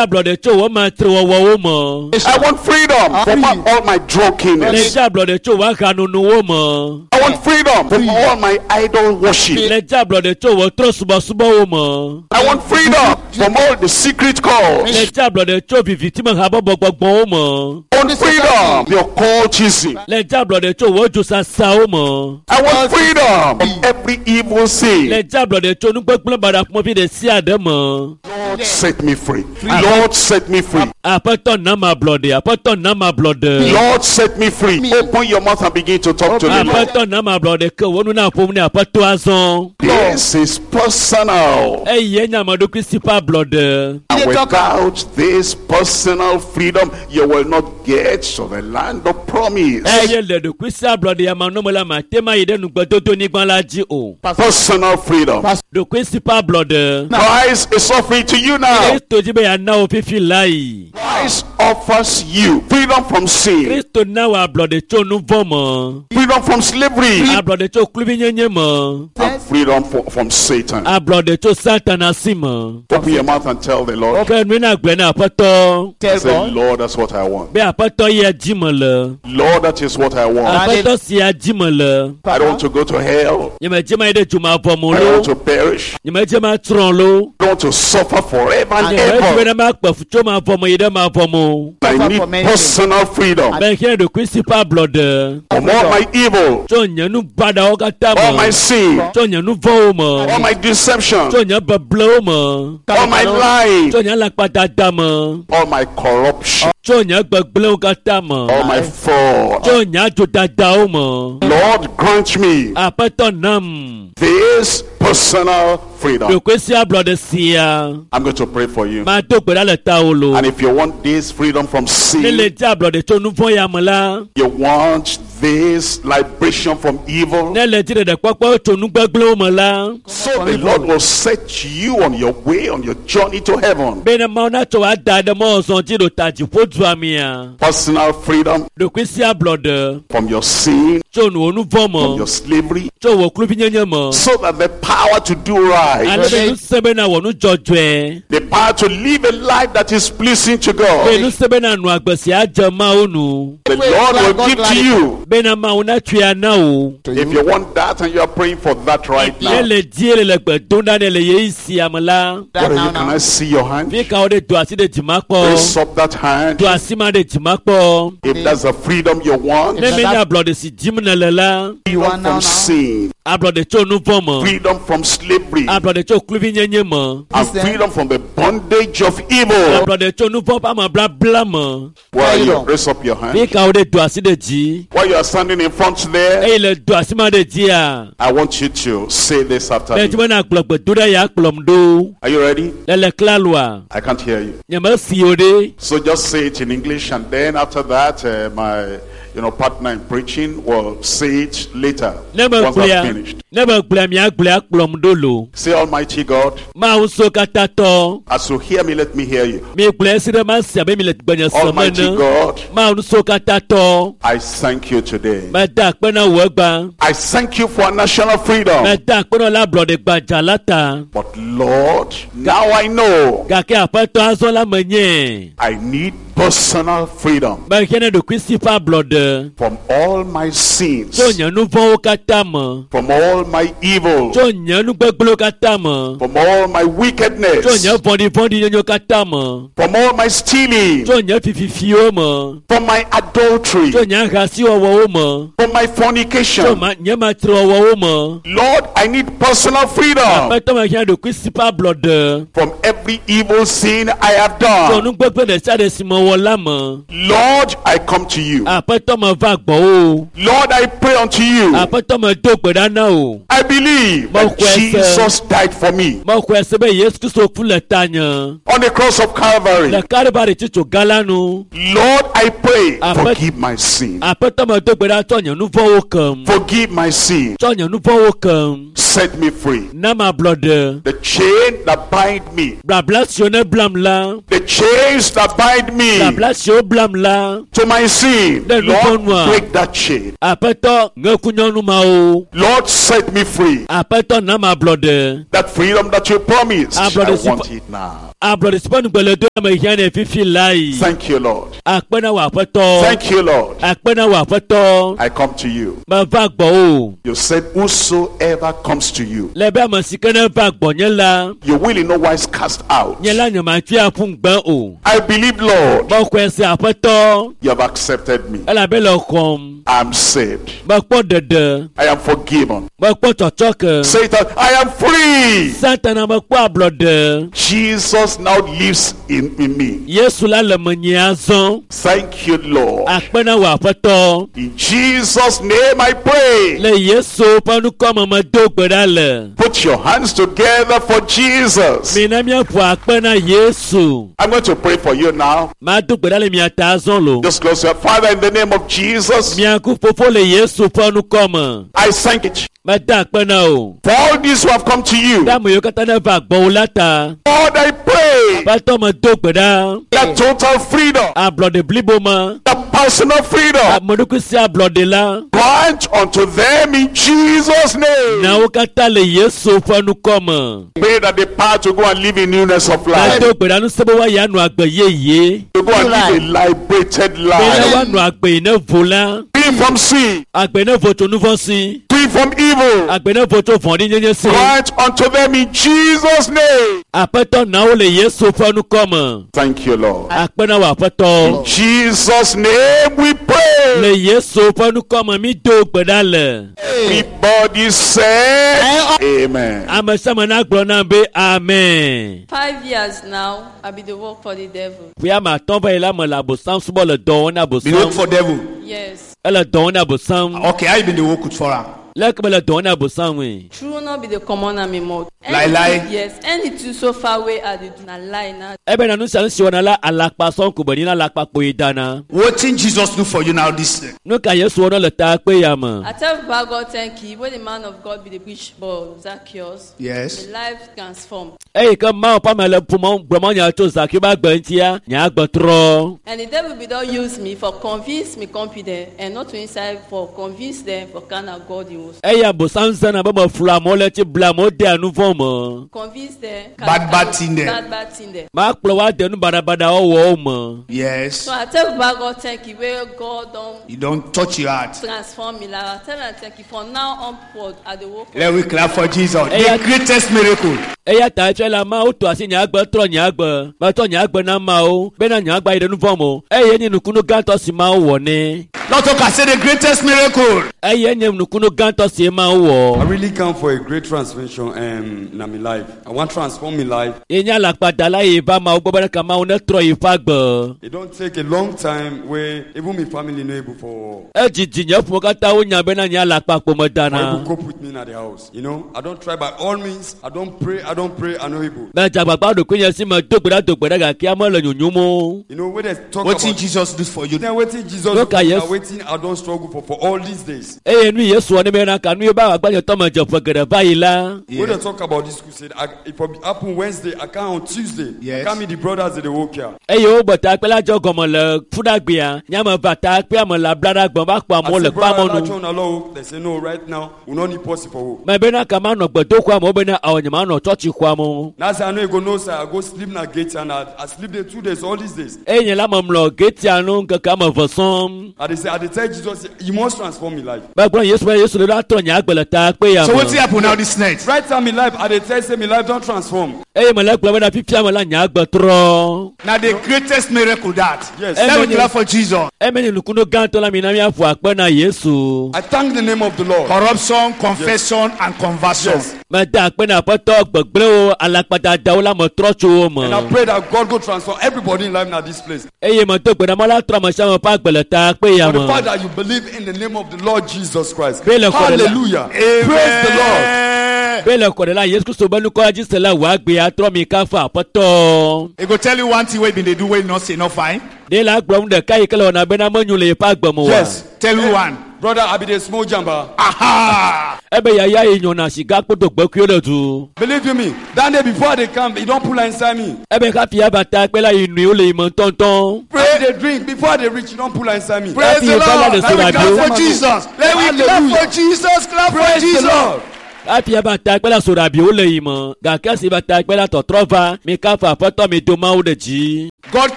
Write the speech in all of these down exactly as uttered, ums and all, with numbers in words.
Ablɔɖe tso wò matrewɔwɔwo me. I want freedom from all my drunkenness. Le dzi ablɔɖe tso wò ahanonowo me. I want freedom from all my idol worship. Le dzi ablɔɖe tso wò trɔ̃subɔsubɔwo me. I want freedom from all the secret calls. Le dzi ablɔɖe tso vivitime habɔbɔ gbɔgbɔwo me. I want freedom from the occultism. Le dzi ablɔɖe tso wò dzosasawo me. I want freedom from every evil sin. Le dzi ablɔɖe tso nugbegblẽ baɖa ƒomevi ɖe sia ɖe me. Lord, set me free. Lord, set me free. Aƒetɔ na ma ablɔɖe. Aƒetɔ na ma ablɔɖe. Lord, set me free. Open your mouth and begin to talk to the Lord. Aƒetɔ na ma ablɔɖe ke wò nu na ƒom ne aƒetɔ azɔ. This is personal. Eye nye ame ɖokui si ƒe ablɔɖe. And without this personal freedom, you will not get to the land of promise. Eye le ɖokui si ablɔɖe ya manɔme la mate ma yi ɖe nugbedodo nyigba la dzi o. Personal freedom. Ɖokui si ƒe ablɔɖe. Christ is offering to you now. Kristo dzi be yeana wò fifi la yi. Christ offers you freedom from sin, Kristo na wò ablɔɖe tso nu vɔ̃ me. freedom from slavery, Ablɔɖe tso kluvinyenye me. and freedom for, from Satan. Ablɔɖe tso Satana si me. Open your mouth and tell the Lord. Ke nui na gblɔe na aƒetɔ. Tell Say, God. Lord, that's what I want. Be aƒetɔ ya dzi me le. Lord, that is what I want. Aƒetɔ sia dzi me le. I don't want to go to hell. Nyemedze ma yi ɖe dzomavɔ me I don't lo. want to perish. Nyemedze ma tsrɔ̃ lo. I don't want to suffer forever and Nyemedze ever. be ne makpe fu tso mavɔ me yi ɖe mavɔ me o. I Suffer need for many personal freedom Mehiã ɖokui si ƒe ablɔɖe. from all my evil, Tso nye nu baɖawo katã all my me. sin, Tso nye nu vɔ̃wo me. all my deception, Tso nye beblewo me. all my lying, Tso nye alakpadada me. all my corruption, Tso nye gbegblẽwo katã me. all my fraud. Tso nye adzodadawo me. Lord, grant me Aƒetɔ nam this personal freedom. ɖokui si ablɔɖe sia. I'm going to pray for you. Mado gbe ɖa le tawò lo. And if you want this freedom from Ne le sin, di ablɔɖe tso nu vɔ̃ ya me la. you want this liberation from evil, Ne le di ɖeɖekpɔkpɔ tso nu gbegblẽwo me la. so the Lord will set you on your way, on your journey to heaven. Be ne Mawu natsɔ wò ada ɖe mɔzɔ dzi ɖo ta dziƒo dua mea. Personal freedom Ɖokui si ablɔɖe from your sin, tso wò nu vɔ̃ from me. your slavery, Tso wò kluvinyenye me. so that the power to do right, Ale be ŋusẽ be nawɔ nu dzɔdzɔe. the power to live a life that is pleasing to Be God, ŋusẽ be nanɔ agbe si adze Mawu nu. the Lord will give to you. Bena Mawu natsɔe ana wò. If you want that and you are praying for that right Ne now, le die le le gbe dom ɖa ne le ɣeyiɣi sia me la. what are Now, you, can now. I see your hand? Fi ka wo ɖe do asi ɖe dzima kpɔ. Raise up that hand. Do asi ma ɖe dzima kpɔ. If that's the freedom you want, Ne menye ablɔɖe si dim nèle la. You freedom want now, from now. sin, Ablɔɖe tso nu vɔ̃ me. freedom from slavery, Ablɔɖe tso kluvinyenye me. and freedom from the bondage of evil. Ablɔɖe tso nu vɔ̃ ƒe ameblabla me. Where are you? Freedom. Raise up your Fi hand. ka wo ɖe do asi ɖe dzi. While you are standing in front there, Eye le do asi ma ɖe dzia. I want you to say this after Medzi me. be nàgblɔ gbedoɖa ya kplɔm ɖo. Are you ready? Le le klaloa. I can't hear you. Nyemesi o ɖe. So just say it in English, and then after that, uh, my you know partner in preaching will say it later Ne once megblɔa I've finished. ne megblɔa miagblɔe akplɔm ɖo lo. Say, Almighty God, Mawu so katã tɔ. as you hear me, let me hear you. Migblɔe esi ɖe masi abe mi le gbenye sem Almighty ene. God, Mawu so katã tɔ. I thank you today. Meda akpe na wò egbea. I thank you for national freedom. Meda akpe na wò le ablɔɖe gbadza la ta. But Lord, now I know Gake aƒetɔ azɔ la menye. I need personal freedom Mehiã ne ɖokuisi ƒe ablɔɖe. from all my sins, Tso nye nu vɔ̃wo katã me. from all my evil, Tso nye nu gbegblẽwo katã me. from all my Tso nye wickedness, vɔ̃ɖivɔ̃ɖinyenyewo katã me. from all my stealing, Tso nye fififiwo me. from my adultery, Tso nye ahasiwɔwɔwo me. from my Tso fornication. ma nye matrewɔwɔwo me. Lord, I need personal freedom Aƒetɔ mehiã ɖokuisi ƒe ablɔɖe. from every evil sin I have Tso done. nu gbegblẽ ɖe sia ɖe si mewɔ la me. Lord, I come to you. Aƒetɔ meva gbɔwò. Lord, I pray unto you. Aƒetɔ medo gbe ɖa na wò. I believe that Mexɔe se. Jesus died for me Mexɔe se be Yesu Kristo ku le tanye. on the cross of Calvary. Le Kalvari tsitso gã la nu. Lord, I pray, Aƒe- forgive my sin. Aƒetɔ medo gbe ɖa tsɔ nye nu vɔ̃wo kem. Forgive my sin. Tsɔ nye nu vɔ̃wo kem. Set me free. Na mablɔɖe. The chain that bind me, Blabla siwo ne blam la. the chains that bind me, Blabla siwo blam la. to my sin, Le Lord, nuvɔ̃ nua. break that chain. Aƒetɔ ŋe nyɔnu mawo. Lord, set me free. Aƒetɔ na ma ablɔɖe. That freedom that you promised, Ah, I brother, want it now. Ablɔɖe si ƒe ŋugbe le do ame hiã nɛ fifi lae. Thank you, Lord. Akpe na wò aƒetɔ. Thank you, Lord. Akpe na wò aƒetɔ. I come to you. Meva gbɔwò. You said, Whosoever comes to you, Le be ame si ke ne va gbɔnye la, you will in no wise cast out. nye la nyematui aƒu ŋugbe o. I believe, Lord, Mexɔe se aƒetɔ you have accepted me. elabe le xɔm. I'm saved. Mekpɔ ɖeɖe. I am forgiven. Mekpɔ tsɔtsɔke. Satan, I am free. Satana mekpɔ ablɔɖe. Jesus now lives in, in me. Yesu la le menye azɔ. Thank you, Lord. Akpe na wò aƒetɔ. In Jesus' name I pray. Le Yesu ƒe ŋkɔme medo gbe ɖa le. Put your hands together for Jesus. Mina míaƒo akpe na Yesu. I'm going to pray for you now. Mado gbe ɖa le mia ta azɔ lo. Just close your Father in the name of Jesus. Miaku fofo le Yesu ƒe ŋkɔme. I thank you Meda akpe na wò. for all these who have come to you. Ɖe ame yiwo katã ne va gbɔwò la ta. Lord, I pray Aƒetɔ medo gbe ɖa. that total freedom, Ablɔɖe blibo me. that personal freedom, Ame ɖokui si ablɔɖe la. grant unto them in Jesus' name. Na wo katã le Yesu ƒe ŋkɔme. Pray that the power to go and live in newness of life, Medo gbe ɖa ŋusẽ be woayi anɔ agbe yeye. to go and live a liberated Be ne life, woanɔ agbe yi ne vo la. free from sin, Agbe ne vo tso nu vɔ̃ si. free from evil. Agbe ne vo tso vɔ̃ɖinyenye si. Grant unto them in Jesus' name. Aƒetɔ na wo le Yesu ƒe ŋkɔme. Thank you, Lord. Akpe na wò aƒetɔ. Jesus' name we pray. Le Yesu ƒe ŋkɔme mi do gbe ɖa le. Everybody said, Amen. Ame sia ame nagblɔ nam be amen. Five years now, I be the work for the devil. Ƒe ame atɔ̃ va yi la me le abosam subɔ le dɔ wɔm na Be work abosam. for devil. Yes. Ele dɔ wɔm na abosam. Okay, how you been the work with for am? Leke me le dɔ wɔm na abosam ŋui. True not be the common am in mouth. Lie, lie. Yes. Anything so far away I dey do na lie na. Ebe na nu sia nu si wɔna la alakpa sɔŋ ko be nyi na alakpa kpoe dana. Wetin Jesus do for you now this Nu ka Yesu wɔna le ta kpe ya me? I tell Baba God thank you when the man of God be the preach but Zacchaeus. Yes. The life transformed. Eyi ke Mawu ƒe ame le ƒomɔ gblɔmɔ nya tso Zakeo be agbe ŋutia, nye agbe trɔ. And the devil be don use me for convince me confident and not to inside for convince them for kind of God he was. Eya abosam zãna be meflu amewo le tsi ble amewo dea nu vɔ̃ me. Convince them. Bad, bad thing them. Bad bad thing them. Makplɔ wo ade nu baɖabaɖawo wɔwo me. Yes. So I tell Baba God thank you where God don You don't touch your heart. transform me. Like I tell am thank you for now onward I dey work. for Let we clap for Jesus. Hey, The I- greatest miracle. Eya ta efia la Mawu to asi nye agbe trɔ nye agbe. Metsɔ nye agbe na Mawu bena nye agbe ayi ɖe nu vɔ̃ me o. Eye nye nukunu gãtɔ si Mawu wɔ nɛ. Lord talk, I say the greatest miracle. Eye nye nukunu gãtɔ si Mawu I wɔ. really come for a great transformation um, in my life. I want to transform my life. Ye nye alakpadala yi va Mawu gbɔ be ɖeka Mawu netrɔ yi ƒe agbe. It don't take a long time where even my family no able for Edzidzi nye ƒome katã wonya bena nye alakpa ƒome for dana. able cope with me at the house. You know, I don't try by all means. I don't pray. I don't pray. I no able. Medze agbagba ɖokuinye si me do gbe ɖa do gbe ɖa gake ame le nyonyom o. You know, when they talk Wetin about Jesus do for you? then waiting Jesus, Look at yes. waiting. I don't struggle for for all these days. Eye nu Yesu wɔ ne bena ka nu ye be agbagbadzetɔ me dze ƒe geɖe va yi la. When they talk about this crusade, I, if it happen Wednesday, I come on Tuesday. Yes. I come meet the brothers at the work here. Eye wogbe takpe la dze gɔme le fuɖagbea. Nye ame va takpea me le ablaɖagbe va kpɔ I amewo say, le brother, kpamɔnu. Lachon, allow. They say no. Right now, we no need possible for who. Me bena ka manɔ gbedoxɔa me wo bena awɔ nye manɔ tsɔtsixɔa me o. Now I say I know you go no sir. I go sleep na gate and I, I sleep there two days all these days. Eye nye la me mlɔ getia nu ŋkeke ame eve sɔŋ. I they say I they tell Jesus, you must transform me life. Megblɔ Yesu be Yesu le ɖo atrɔ nye agbe le takpe ya So wetin me. happen now this night? Right time in life, I they tell say my life don't transform. Eye me le gblɔ bena fifia me la nye agbe trɔ. Now the greatest miracle that. Yes. Let we Amen. clap for Jesus. Eme nye nukunu gãtɔ la mi na míaƒo akpe na Yesu. I thank the name of the Lord. Corruption, confession, and conversion. Yes. Meda akpe na aƒetɔ gbegblẽwo alakpadadawo la me trɔ tso wo And I me. pray that God go transform everybody in life now this place. Eye medo gbe ɖa Mawu la trɔ ame sia ame ƒe agbe le takpe ya For the fact me. that you believe in the name of the Lord Jesus Christ. Pray le kɔɖe la. Hallelujah. Praise the Lord. Amen. Be le kɔ ɖe la Yesu Kristo be nukɔ dzi se la wò agbe atrɔ mi kafu aƒetɔ. He go tell you one thing wey been dey do wey you not say no fine. Ɖe la gblɔm ɖeka yi ke le wɔna bena menyo le yeƒe agbe me oa. Yes. Tell you one. Brother, I be the small jumper. Aha! Ebe yaya yi nyɔna siga kpoto gbekuiwo ɖe du. Believe you me, that day before they come, he don't pull inside me. Ebe hafi ava ta kpe la yi nui wo le yi me ŋutɔŋutɔ. Pray they drink before they reach, you don't pull inside me. Praise the Happy Lord. Bala Let we clap Hallelujah. for Jesus. Let we clap for Jesus. Clap for Praise the Jesus. Lord. Hafi eva ta kpe la soɖabiwo le yi me gake esi va ta kpe la tɔtrɔ va mi kafu aƒetɔ mi do mawu ɖe dzi. God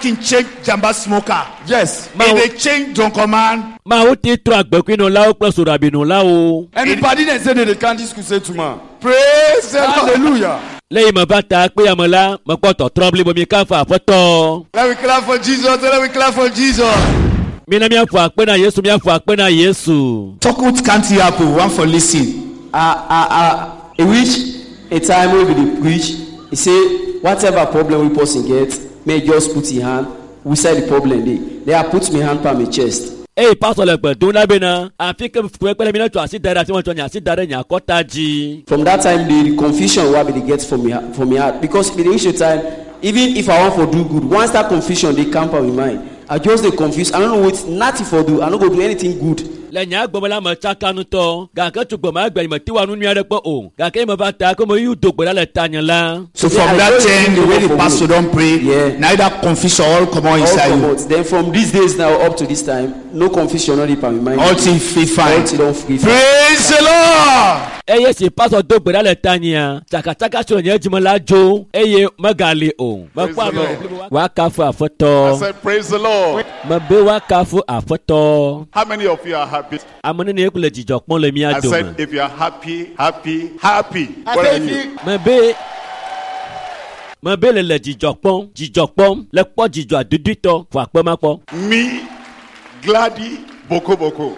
can change Jamba smoker. Yes. If they change drunken man, Mawu ti trɔ agbekuinɔlawo kple soɖabinɔlawo. Anybody that say that they can't discuss it to man. praise the Lord. Hallelujah. Le yi me va ta kpe ya me la mekpɔ tɔtrɔ blibo mi kafu aƒetɔ. Let we clap for Jesus. Let we clap for Jesus. Mina miaƒo akpe na Yesu miaƒo akpe na Yesu. Talk with can't happen. One for listen. I, I, I, e reach a time wey we dey preach e say whatever problem wey person get make e just put e hand inside the problem dey then i put my hand pa my chest Eye pastor le gbe dom ɖa bena afi ke fukpekpe le mi ne tsɔ asi da ɖe afi ma tsɔ nye asi da ɖe nye akɔta dzi. from that time the the confusion wey i bin dey get for me for my heart because e bin dey reach a time even if i wan for do good once that confusion dey come for my mind i just dey confuse i no know wetin nothing for do i no go do anything good Le nye agbeme la me tsaka ŋutɔ gake tso gbema gbe nye meti wa nu nyui aɖe kpɔ o gake ye me va ta ko me yi do gbe ɖa le tanye la. So Yeah, from I that just time, the way the for pastor me. don't pray, Yeah. now that confusion all come on all inside you. comot then from these days now up to this time no confusion no dey pa my mind All thing free all fine. thing don free fine. Praise the Lord. Eye si pastor do gbe ɖa le tanyea tsakatsaka si le nye dzime la dzo eye megali o. Praise Mekpɔ the ame Lord. blibo woakafu I aƒetɔ. said, Praise the Lord. Mebe woakafu aƒetɔ. How many of you are happy? Ame nene le dzidzɔ kpɔm le mía I dome. said, if you are happy, happy, happy. Where are you? Mebe mebe le le dzidzɔ kpɔm dzidzɔ kpɔm le kpɔ dzidzɔ adudutɔ fɔ akpe ma kpɔ. Me, Gladdy, Boko Boko.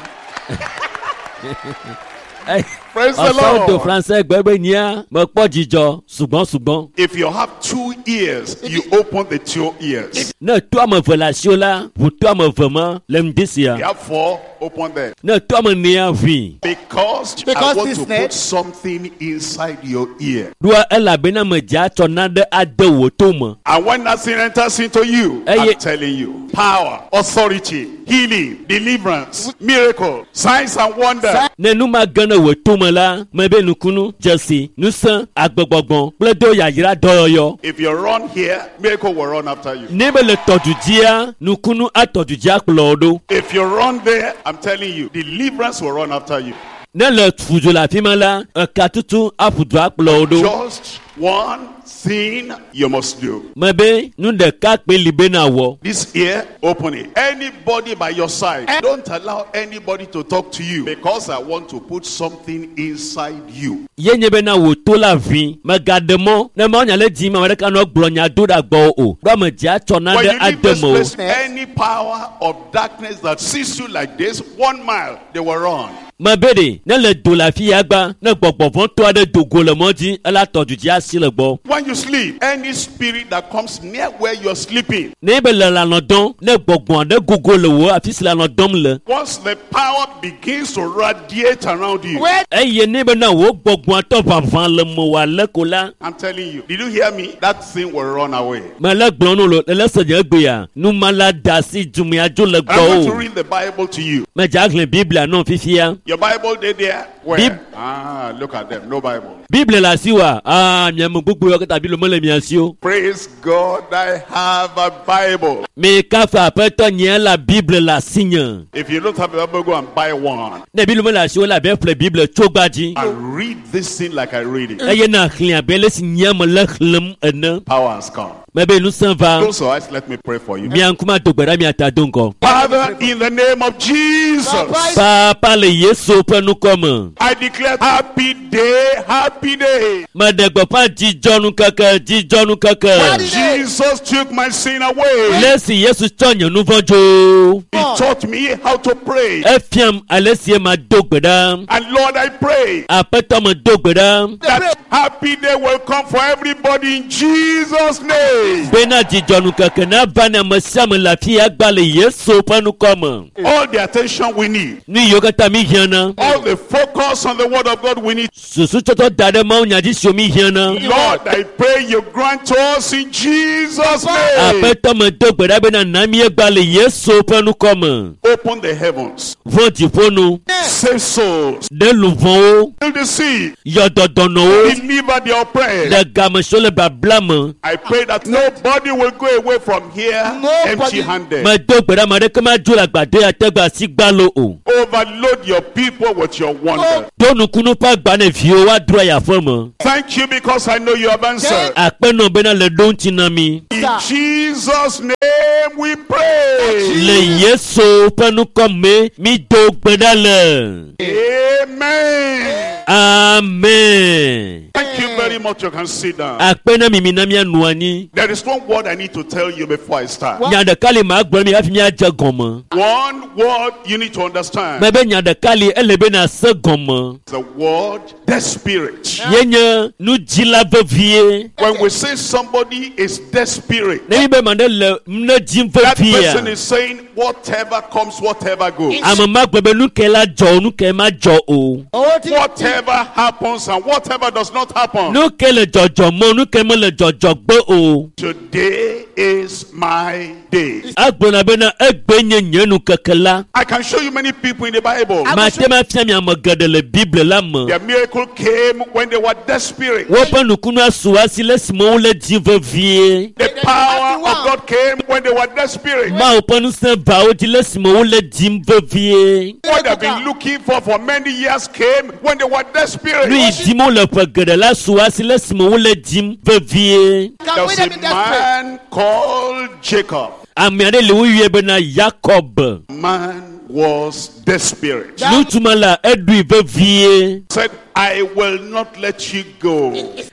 Praise the Ɔsɔwo do Lord. français gbe be nyia mekpɔ dzidzɔ sugbɔn sugbɔn. If you have two ears, you open the two ears. Ne to ame eve le asiwo la ʋu to ame eve ma le ŋdi sia. You have four, open them. Ne to ame enea ʋui. Because, I Because want this to net- put something inside your ear. Ɖoa elabena medze atsɔ nane ade wò to me. And when that thing enters into you, Eh, I'm ye- telling you, power, authority, healing, deliverance, miracle, signs and wonders. Ne nu ma ge ne wò to me la, mebe nukunu, dzesi, ŋusẽ, agbegbɔgbɔ kple do yayra dɔyɔyɔ. If you run here, miracle will run after you. Ne be le tɔdu dzia, nukunu atɔdu dzia kplɔ wò ɖo. If you run there, I'm telling you, deliverance will run after you. Ne le fudzo le afi ma la, eka tutu aƒu du akplɔ wò ɖo. Just one thing you must do. Mebe nu ɖeka kpe li be na wɔ. This ear, open it. Anybody by your side, don't allow anybody to talk to you because I want to put something inside you. Ye nye bena wò to la vi, megaɖe mɔ ne mawo nya le dzi ma ame ɖeka nɔ gblɔ nya do ɖe gbɔwò o. Ɖo ame dzi atsɔ When nane you leave ade this me o. place, any power of darkness that sees you like this, one mile, they will run. Mebe ɖe ne le do le afi ya gba, ne gbɔgbɔvɔtɔ aɖe do go le mɔ dzi, ela tɔ du dzi asi le gbɔ. When you sleep, any spirit that comes near where you're sleeping, Ne be le lãnɔ dɔm, ne gbɔgbɔ aɖe gogo le wò afi si lãnɔ dɔm le once the power begins to radiate around you, eye ne bena wò gbɔgbɔa tɔ ʋaʋã le mewò ale ko la, I'm telling you, did you hear me? That thing will run away. mele gblɔ nu lo le se nye gbea, numala da asi dumea dzo le I'm going to gbɔwò. read the Bible to you. Medze axlẽ Biblia nɔ fifia. Your Bible dey there? Where? Bib- Ah, look at them. No Bible. Biblia le asi wa, aa miame gbogbo yɔ katã Biblia mele mia si o. Praise God, I have a Bible. Mi kafu aƒetɔ nye la Biblia le asi nye. If you don't have a Bible, go and buy one. Ne Biblia mele asi o la be ƒle Biblia tso gba dzi. And read this thing like I read it. Eye na xlẽ abe le si nye me le xlẽm ene. Power has come. Mebe ŋusẽ va. Close your eyes, let me pray for you. Mia ŋkume ado gbe ɖa mia ta do ŋgɔ. Father, in the name of Jesus, Papa le Yesu ƒe ŋkɔ me. I declare happy day, happy day. Meɖe gbeƒã dzidzɔnukeke, dzidzɔnukeke. Jesus took my sin away. Le si Yesu tsɔ nye nu vɔ̃ dzo. He taught me how to pray. Efiam ale si ma do gbe ɖa. And Lord, I pray Aƒetɔ me do gbe ɖa. that happy day will come for everybody in Jesus' name. Bena dzidzɔnukeke nava ne ame sia ame le afi ya gba le Yesu ƒe nukɔ me. All the attention we need, Nu yiwo katã mi hiã na. all the focus on the word of God we need. Susu tsɔtsɔ da ɖe Mawu nya dzi siwo mi hiã na. Lord, I pray you grant us in Jesus' name. Aƒetɔ me do gbe ɖa bena na mi egba le Yesu ƒe nukɔ me. Open the heavens, Vɔ dziƒo nu, save souls, ɖe luʋɔwo, heal the sick, yɔ dɔdɔnɔwo, deliver the oppressed. le game siwo le babla me. I pray that nobody will go away from here Nobody. empty handed. Medo gbe ɖa ame aɖeke madzo le agbadɔ ya te gbe asi gbalo o. Overload your people with your wonder. Do nukunu ƒe agba ne viwo woadro ayi aƒe me. Thank you because I know you have answered. Akpe nɔ bena le ɖo ŋuti na mi. In Jesus' name we pray. Le Yesu ƒe nukɔ me, mi do gbe ɖa le. Amen. Amen. Thank you very much. You can sit down. Akpe na mi mi na mianɔ anyi. There is one word I need to tell you before I start. Nya ɖeka li ma gblɔ mi hafi miadze gɔme. One word you need to understand. Mebe nya ɖeka li ele be na se gɔme. The word desperate. Ye nye nudzila vevie. When we say somebody is desperate, Ne mi be ma ɖe le ne dzim that person veviea, is saying whatever comes, whatever goes. ame ma gblɔ be nu ke la dzɔ o, nu ke ma dzɔ o. Whatever happens and whatever does not happen. Nu ke le dzɔdzɔ me o, nu ke mele dzɔdzɔ gbe o. Today is my day. Agblɔna bena egbe nye nye nukeke la. I can show you many people in the Bible. Mate ma fia mi ame geɖe le Bible la me. Their miracle came when they were desperate. Woƒe nukunu asu asi le esime wole dzi vevie. The power of God came when they were desperate. Mawu ƒe ŋusẽ va wo dzi le esime wole dzim vevie. What they've been looking for for many years came when they were desperate. Nu yi dim wole ƒe geɖe la su asi le esime wole dzim vevie. There was a man called Jacob. Ame aɖe le woyɔe bena Yakob. Man was desperate. Ŋutsu ma la eɖui vevie. Said, I will not let you go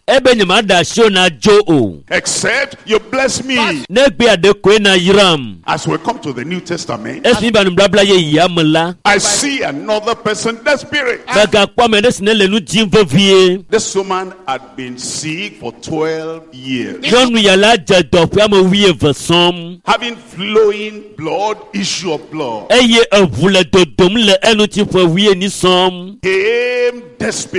Ebe nye ma ɖe asi wo na dzo o. except you bless me. Ne gbe aɖe koe na yram. As we come to the New Testament, Esi mi ba nubabla yeyea me la, I see another person desperate. megakpɔ ame ɖe si ne le nu dzim vevie. This woman had been sick for twelve years, Nyɔnu ya la dze dɔ ƒe ame wuieve sɔm. having flowing blood, issue of blood. Eye eʋu le dodom le eŋuti ƒe wuienyi sɔm. Came desperate.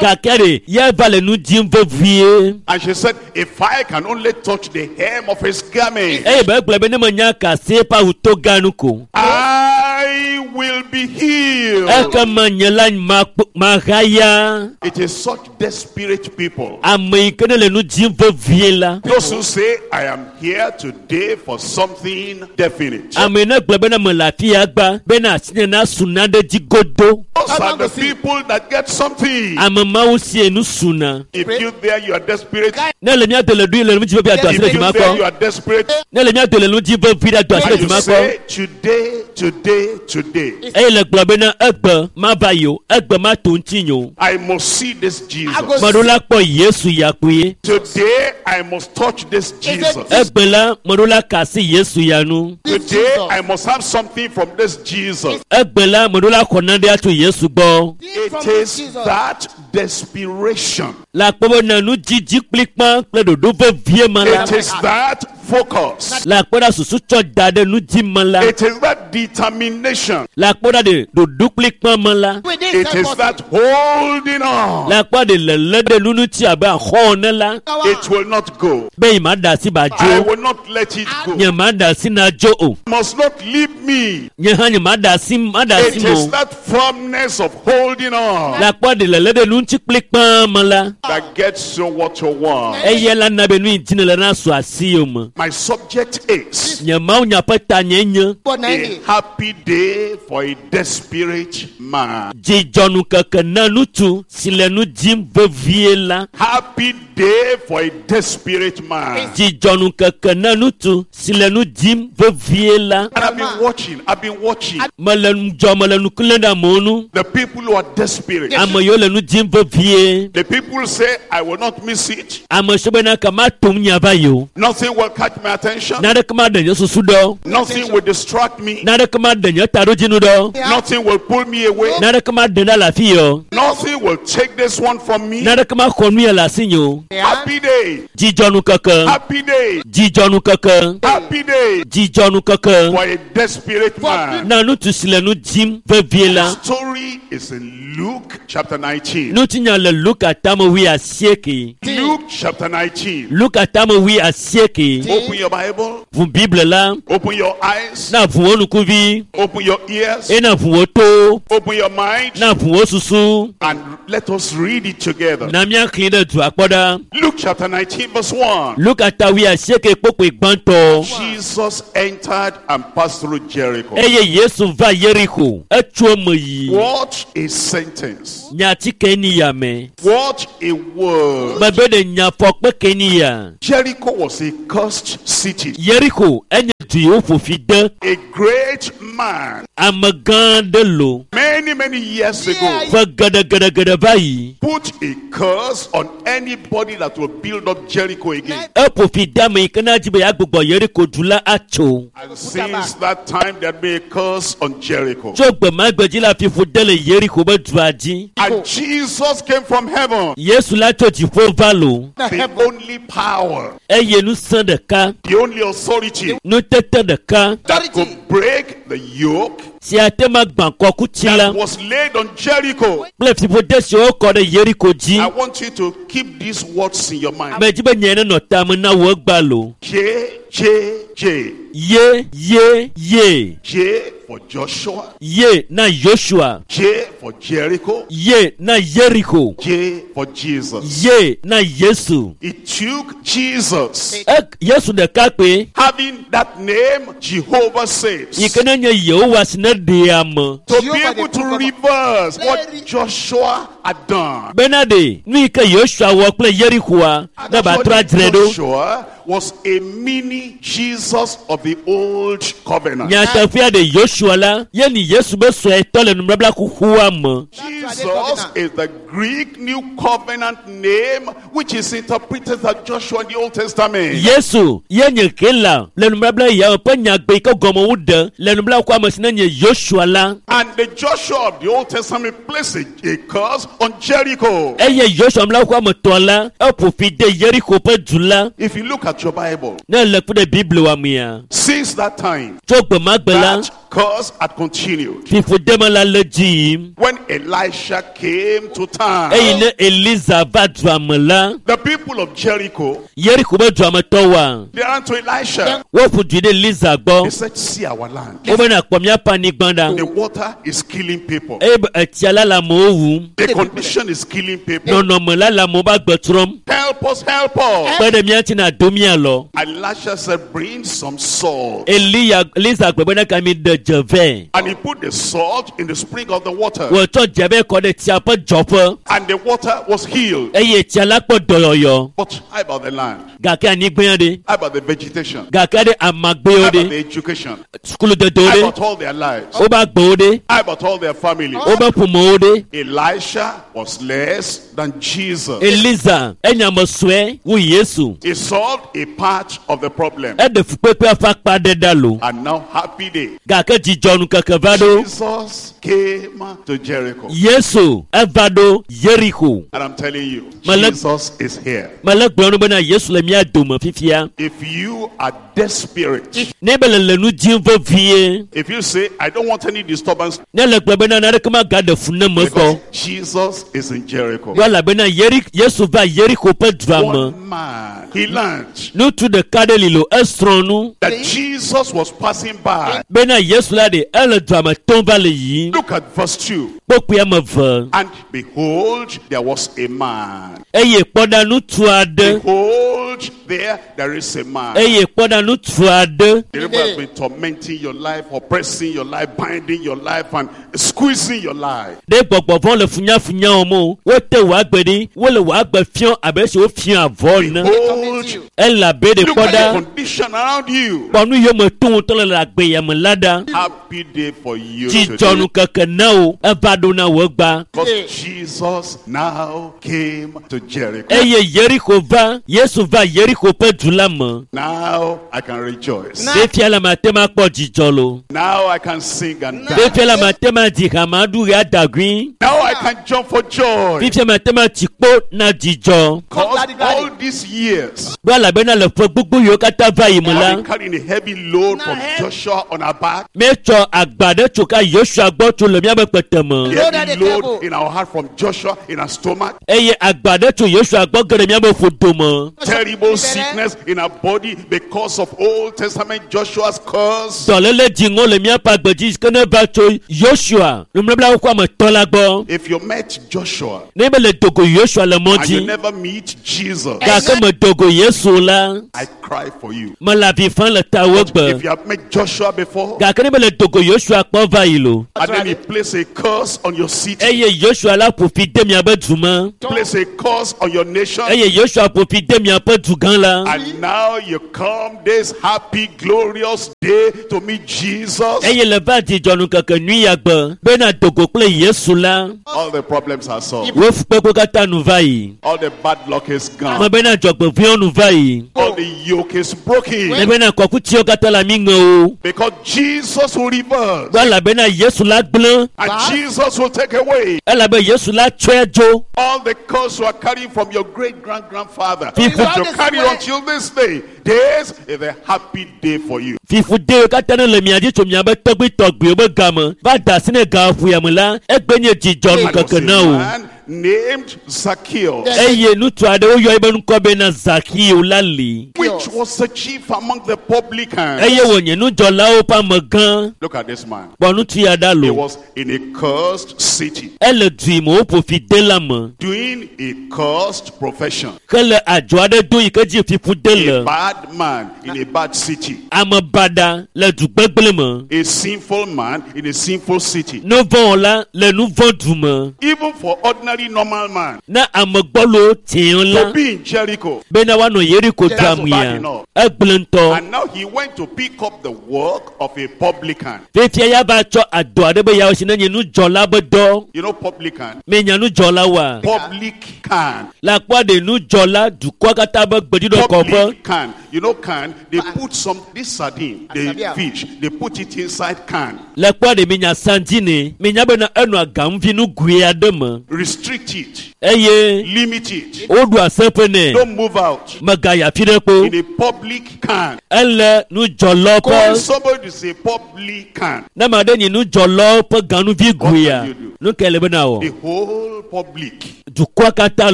Gake ɖe ya va le nu dzim vevie. And she said, If I can only touch the hem of his garment, Eye be egblɔ be ne menya ka asi eƒe awu toga nu ko. I will be healed. Ekema nye la makpɔ mahaya. It is such desperate people. Ame yi ke ne le nu dzim vevie la. Those who say, I am here today for something definite. Ame yi ne gblɔ bena mele afi ya gba bena asi nye nasu naɖe dzi godo. Those are the people that get something. Ame mawo sie nu suna. If you there, you are desperate. Ne le mía do le ɖui le nu dzi vevie ado asi ɖe If you dzima there, you kɔ. are desperate. Ne le mía do le nu dzi vevie ado asi ɖe And you dzima kɔ. say, today, today, today, Eye le gblɔ bena egbe mava yi o, egbe mato ŋuti nye o. I must see this Jesus. Meɖo la kpɔ Yesu ya kpuie. Today, I must touch this Jesus. Egbe la, meɖo la ka asi Yesu ya nu. Today, I must have something from this Jesus. Egbe la, meɖo la xɔ nane atso Yesu gbɔ. It is that desperation. Le akpɔ bena nudzidzi kplikpa kple ɖoɖo vevie me la. It is that focus. Le akpɔ ɖa susu tsɔ da ɖe nu dzi me la. It is that determination. Le akpɔ ɖa ɖe ɖoɖo kplikpa me la. It is that holding on. Le akpɔ ɖe lele ɖe nu ŋuti abe axɔ ene la. It will not go. Be yi ma ɖe asi ba I dzo. will not let it go. Nye ma ɖe asi na dzo o. Must not leave me. Nye hã nye ma ɖe asi ma ɖe asi It mo. is that firmness of holding on Le akpɔ ɖe lele ɖe nu ŋuti kplikpa me la. that gets you what you want. Eya la na be nu yi dzi ne le na su asi yome. My subject is Nye Mawu nya ƒe ta nye nye a happy day for a desperate man. dzidzɔnukeke na ŋutsu si le nu dzim vevie la. Happy day for a desperate man. Dzidzɔnukeke na ŋutsu si le nu dzim vevie la. And I've been watching, I've been watching Mele ŋudzɔ mele nu klẽ ɖe amewo nu. the people who are desperate. Ame yiwo le nu dzim vevie. The people say, I will not miss it. Ame siwo bena ke matom nya va yi o. Nothing will catch my attention. Naneke maɖe nye susu ɖɔ. Nothing will distract me. Naneke ma ɖe nye taɖodzinu ɖɔ. Nothing will pull me away. Naneke ma ɖe ɖa le afi yɔ. Nothing will take this one from me. Naneke ma xɔ nu ya le asinye o. Happy day. Dzidzɔnukeke. Happy day. Dzidzɔnukeke. Happy day Dzidzɔnukeke. for a desperate man. Na ŋutsu si le nu dim vevie la. Story is in Luke chapter nineteen. Ŋutinya le Luka tame wui asieke. Luke chapter nineteen. Luka tame wui asieke. Open your Bible. Ʋu Bible la. Open your eyes. Na ʋu wo ŋkuvi. Open your ears. Eye na ʋu wo to. Open your mind. Na ʋu wo susu. And let us read it together. Na míaxlẽ ɖe dua kpɔ ɖa. Luke chapter nineteen, verse one. Luka ta wui asieke kpokpoe gbãtɔ. Jesus entered and passed through Jericho. Eye Yesu va Yeriko. Etso eme yi. What a sentence. Nyati ke ni ya me. What a word. Mebe ɖe nyafɔkpe ke ni ya. Jericho was a cursed city. Yeriko enye du yi woƒo fi de. A great man, Ame gã aɖe lo. many, many years ago, Ƒe geɖegeɖegeɖe va yi. put a curse on anybody that will build up Jericho again. Eƒo fi de ame yi ke na dzi be yeagbugbɔ Yeriko du la atso. And since that time, there been a curse on Jericho. Tso gbe ma gbe dzi la fiƒo de le Yeriko be dua dzi. And Jesus came from heaven. Yesu la tso dziƒo va lo. The only power, Eye ŋusẽ ɖeka, the only authority nutete ɖeka that could break the yoke si ate ma gbã kɔkuti la that was laid on Jericho. kple fiƒode siwo kɔ ɖe Yeriko dzi. I want you to keep these words in your mind. Medzi be nye nenɔ tame na wò egba lo. J, J, J. Ye, ye, ye. J for Joshua. Ye na Joshua. J for Jericho. Ye na Yeriko. J for Jesus. Ye na Yesu. It took Jesus E Yesu ɖeka kpe having that name, Jehovah saves, yi ke ne nye Yehowa si ne ɖea ame. to be able to reverse what Joshua had done. Bena ɖe nu yi ke Yosua wɔ kple Yerikoa ne ba trɔ adzre ɖo. Joshua was a mini Jesus of the old covenant. Nyateƒea ɖe Yosua la ye ni Yesu be suetɔ le nubabla xoxoa me. Jesus is the Greek New Covenant name which is interpreted as Joshua in the Old Testament. Yesu ye nye Hela le nubabla ya me ƒe nyagbe yi ke gɔme woɖe le nubabla xoxoa me si ne nye Yosua la. And the Joshua of the Old Testament placed a, a curse on Jericho. Eye Yosua nubabla xoxoa me tɔ la eƒo fi de Yeriko ƒe du la. If you look at your Bible, Ne le kpe ɖe Biblia mea, since that time, tso gbe ma gbe la, that curse had continued. fiƒodeme la le dzi yim. When Elisha came to town, Eye ne Eliza va dua me la, the people of Jericho, Yeriko be dua me tɔwoa, they ran to Elisha. woƒo du ɖe Eliza They gbɔ. said, see our land. Wobena kpɔ míaƒe anyigba ɖa. The water is killing people. Eye be etsia la le amewo wum. The condition is killing people. Nɔnɔme la le amewo ƒe agbe trɔm. Help us, help us. Kpe ɖe mía ŋuti na do mía lɔ. Elisha said, bring some salt. Eliya Eliza gblɔ bena ka mi ɖe dze vɛ. And he put the salt in the spring of the water. Wòtsɔ dze vɛ kɔ ɖe tsia ƒe dzɔƒe And the water was healed. eye tsia la kpɔ dɔyɔyɔ. But how about the land? Gake anyigba ɖe, How about the vegetation? gake ɖe How amagbewo about ɖe, the education? sukuludedewo How ɖe, about all their lives? woƒe agbewo ɖe, How about all their families? woƒe ƒomewo ɖe. Elisha was less than Jesus. Eliza enye ame sue wu Yesu. He solved a part of the problem. Eɖe fukpekpea ƒe akpa ɖe ɖa lo. And now, happy day. Gake dzidzɔnu keke va ɖo. Jesus came to Jericho. Yesu eva ɖo Yeriko. And I'm telling you, Mele- Jesus is here. Mele gblɔm nu bena Yesu le mía dome fifia. If you are desperate, Ne be le le nu dim vevie, if you say, I don't want any disturbance, ne le gblɔ bena naneke magaɖe fu ne me because gbɔ. Jesus is in Jericho. Yɔ elabena Yeri- Yesu va Yeriko ƒe dua me. One man, he learned Ŋutsu ɖeka ɖe li lo esrɔ̃ nu that Jesus was passing by. bena Yesu la ɖe ele dua me tom va le yiyim. Look at verse two. Kpokpoe ame eve. And behold, there was a man. Eye kpɔ ɖa ŋutsu aɖe. Behold, there, there is a man. Eye kpɔ ɖa ŋutsu aɖe. The devil has been tormenting your life, oppressing your life, binding your life, and squeezing your life. Ɖe gbɔgbɔ vɔ̃ le funyafunya wɔm o. Wote wò agbe ɖi. Wole wò agbe fiɔ abe esi wofiɔ avɔ ene. Behold, Elabe ɖe look kpɔ at the ɖa. condition around you. Kpɔ nu yiwo me tom wotɔ le le agbe ya me la ɖa. Happy day for you today. Dzidzɔnu keke na wo. Eva ɖo na wò gba. Because Jesus now came to Jericho. Eye Yeriko va, Yesu va Yeriko ƒe du la me. Now I can rejoice. Fifia la mate ma kpɔ dzidzɔ lo. Now I can sing and dance. Fifia la mate ma dzi ha ma ɖu ɣe adagui. Now I can jump for joy. Fifia mate ma tsi kpo na dzidzɔ. Because all these years, Ɖo elabena le ƒe gbogbo yiwo katã va yi me I've la, been carrying a heavy load from Joshua on our back. míetsɔ agba ɖe tso ka Yosua gbɔ tso le míaƒe kpete me. The heavy load in our heart from Joshua in our stomach. Eye agba ɖe tso Yosua gbɔ ge ɖe míaƒe ƒodo me. Terrible sickness in our body because of Old Testament Joshua's curse. Dɔléle dziŋɔ le míaƒe agbe dzi ke ne va tso Yosua nubablawo ƒe ame etɔ̃ la gbɔ. If you met Joshua Ne be le dogo Yosua le mɔ and you dzi never meet Jesus, gake me dogo Yesu la, I cry for you. mele avi fam le tawò gbe. If you have met Joshua before Gake ne be le dogo Yosua kpɔ va yi lo, and then he placed a curse on your city, eye Yosua la ƒo fi de miaƒe du me, place a curse on your nation, eye Yosua ƒo fi de miaƒe du gã la. and now you come this happy, glorious day to meet Jesus. Eye le va dzidzɔnu keke nyui ya gbe bena dogo kple Yesu la, All the problems are solved. wo fukpekpe katã nu va yi. All the bad luck is Me gone. bena dzɔgbevɔ̃ewo nu va yi. All the yoke is broken. Ne bena kɔkutiwo katã le ami ŋe o. Because Jesus will reverse Gbɔ elabena Yesu la gblẽ, and Jesus will take away elabe Yesu la tsɔe dzo. all the curse you are carrying from your great grand grandfather. People- You carry until this day. This is a happy day for you. Fiƒudewo katã ne le mia dzi tso miabe tɔgbuitɔgbuiwo be game va da asi ne gaƒoya me la, egbe nye dzidzɔnu And was keke a na o. man named Zacchaeus, Eye ŋutsu aɖewo yɔ ebe ŋkɔ bena Zakeo la li. which was the chief among the publicans. Eye wònye nudzɔlawo ƒe amegã. Look at this man. Kpɔ ŋutsu ya ɖa He lo. was in a cursed city, Ele du yi me woƒo fi de la me. doing a cursed profession. Ke le adzɔ aɖe do yi ke dzi fiƒude A le. bad man in a bad city. Ame baɖa le du gbegblẽ me. A sinful man in a sinful city. Nuvɔ̃wɔla le nuvɔ̃ du me. Even for ordinary normal man Ne ame gbɔlo tiɛ la to be in Jericho. bena woanɔ Yeriko That's dua bad mea, enough. egblẽ ŋutɔ. And now he went to pick up the work of a publican. Fifia ya va tsɔ adɔ aɖe be yeawɔ si ne nye nudzɔla be dɔ. You know publican? Menya nudzɔla woa? Publican. Le akpɔ ɖe nudzɔla dukɔa katã be gbeɖuɖɔ kɔƒe. Publican. You know can? They put some, this sardine, the fish, they put it inside can. Le kpɔ ɖe menya sandini. Menya bena enɔa gaŋuvi nugui aɖe me. Restrict it. Eye Limit it. woɖu aseƒe nɛ. Don't move out. Megayi afi ɖe kpo. In a public can. Ele nudzɔlawo Call ƒe somebody to say publican. ne ame aɖe nyi nudzɔlawo ƒe ganuvi guia, What can you do? nu kae le bena The wɔ? whole public. Dukɔa katã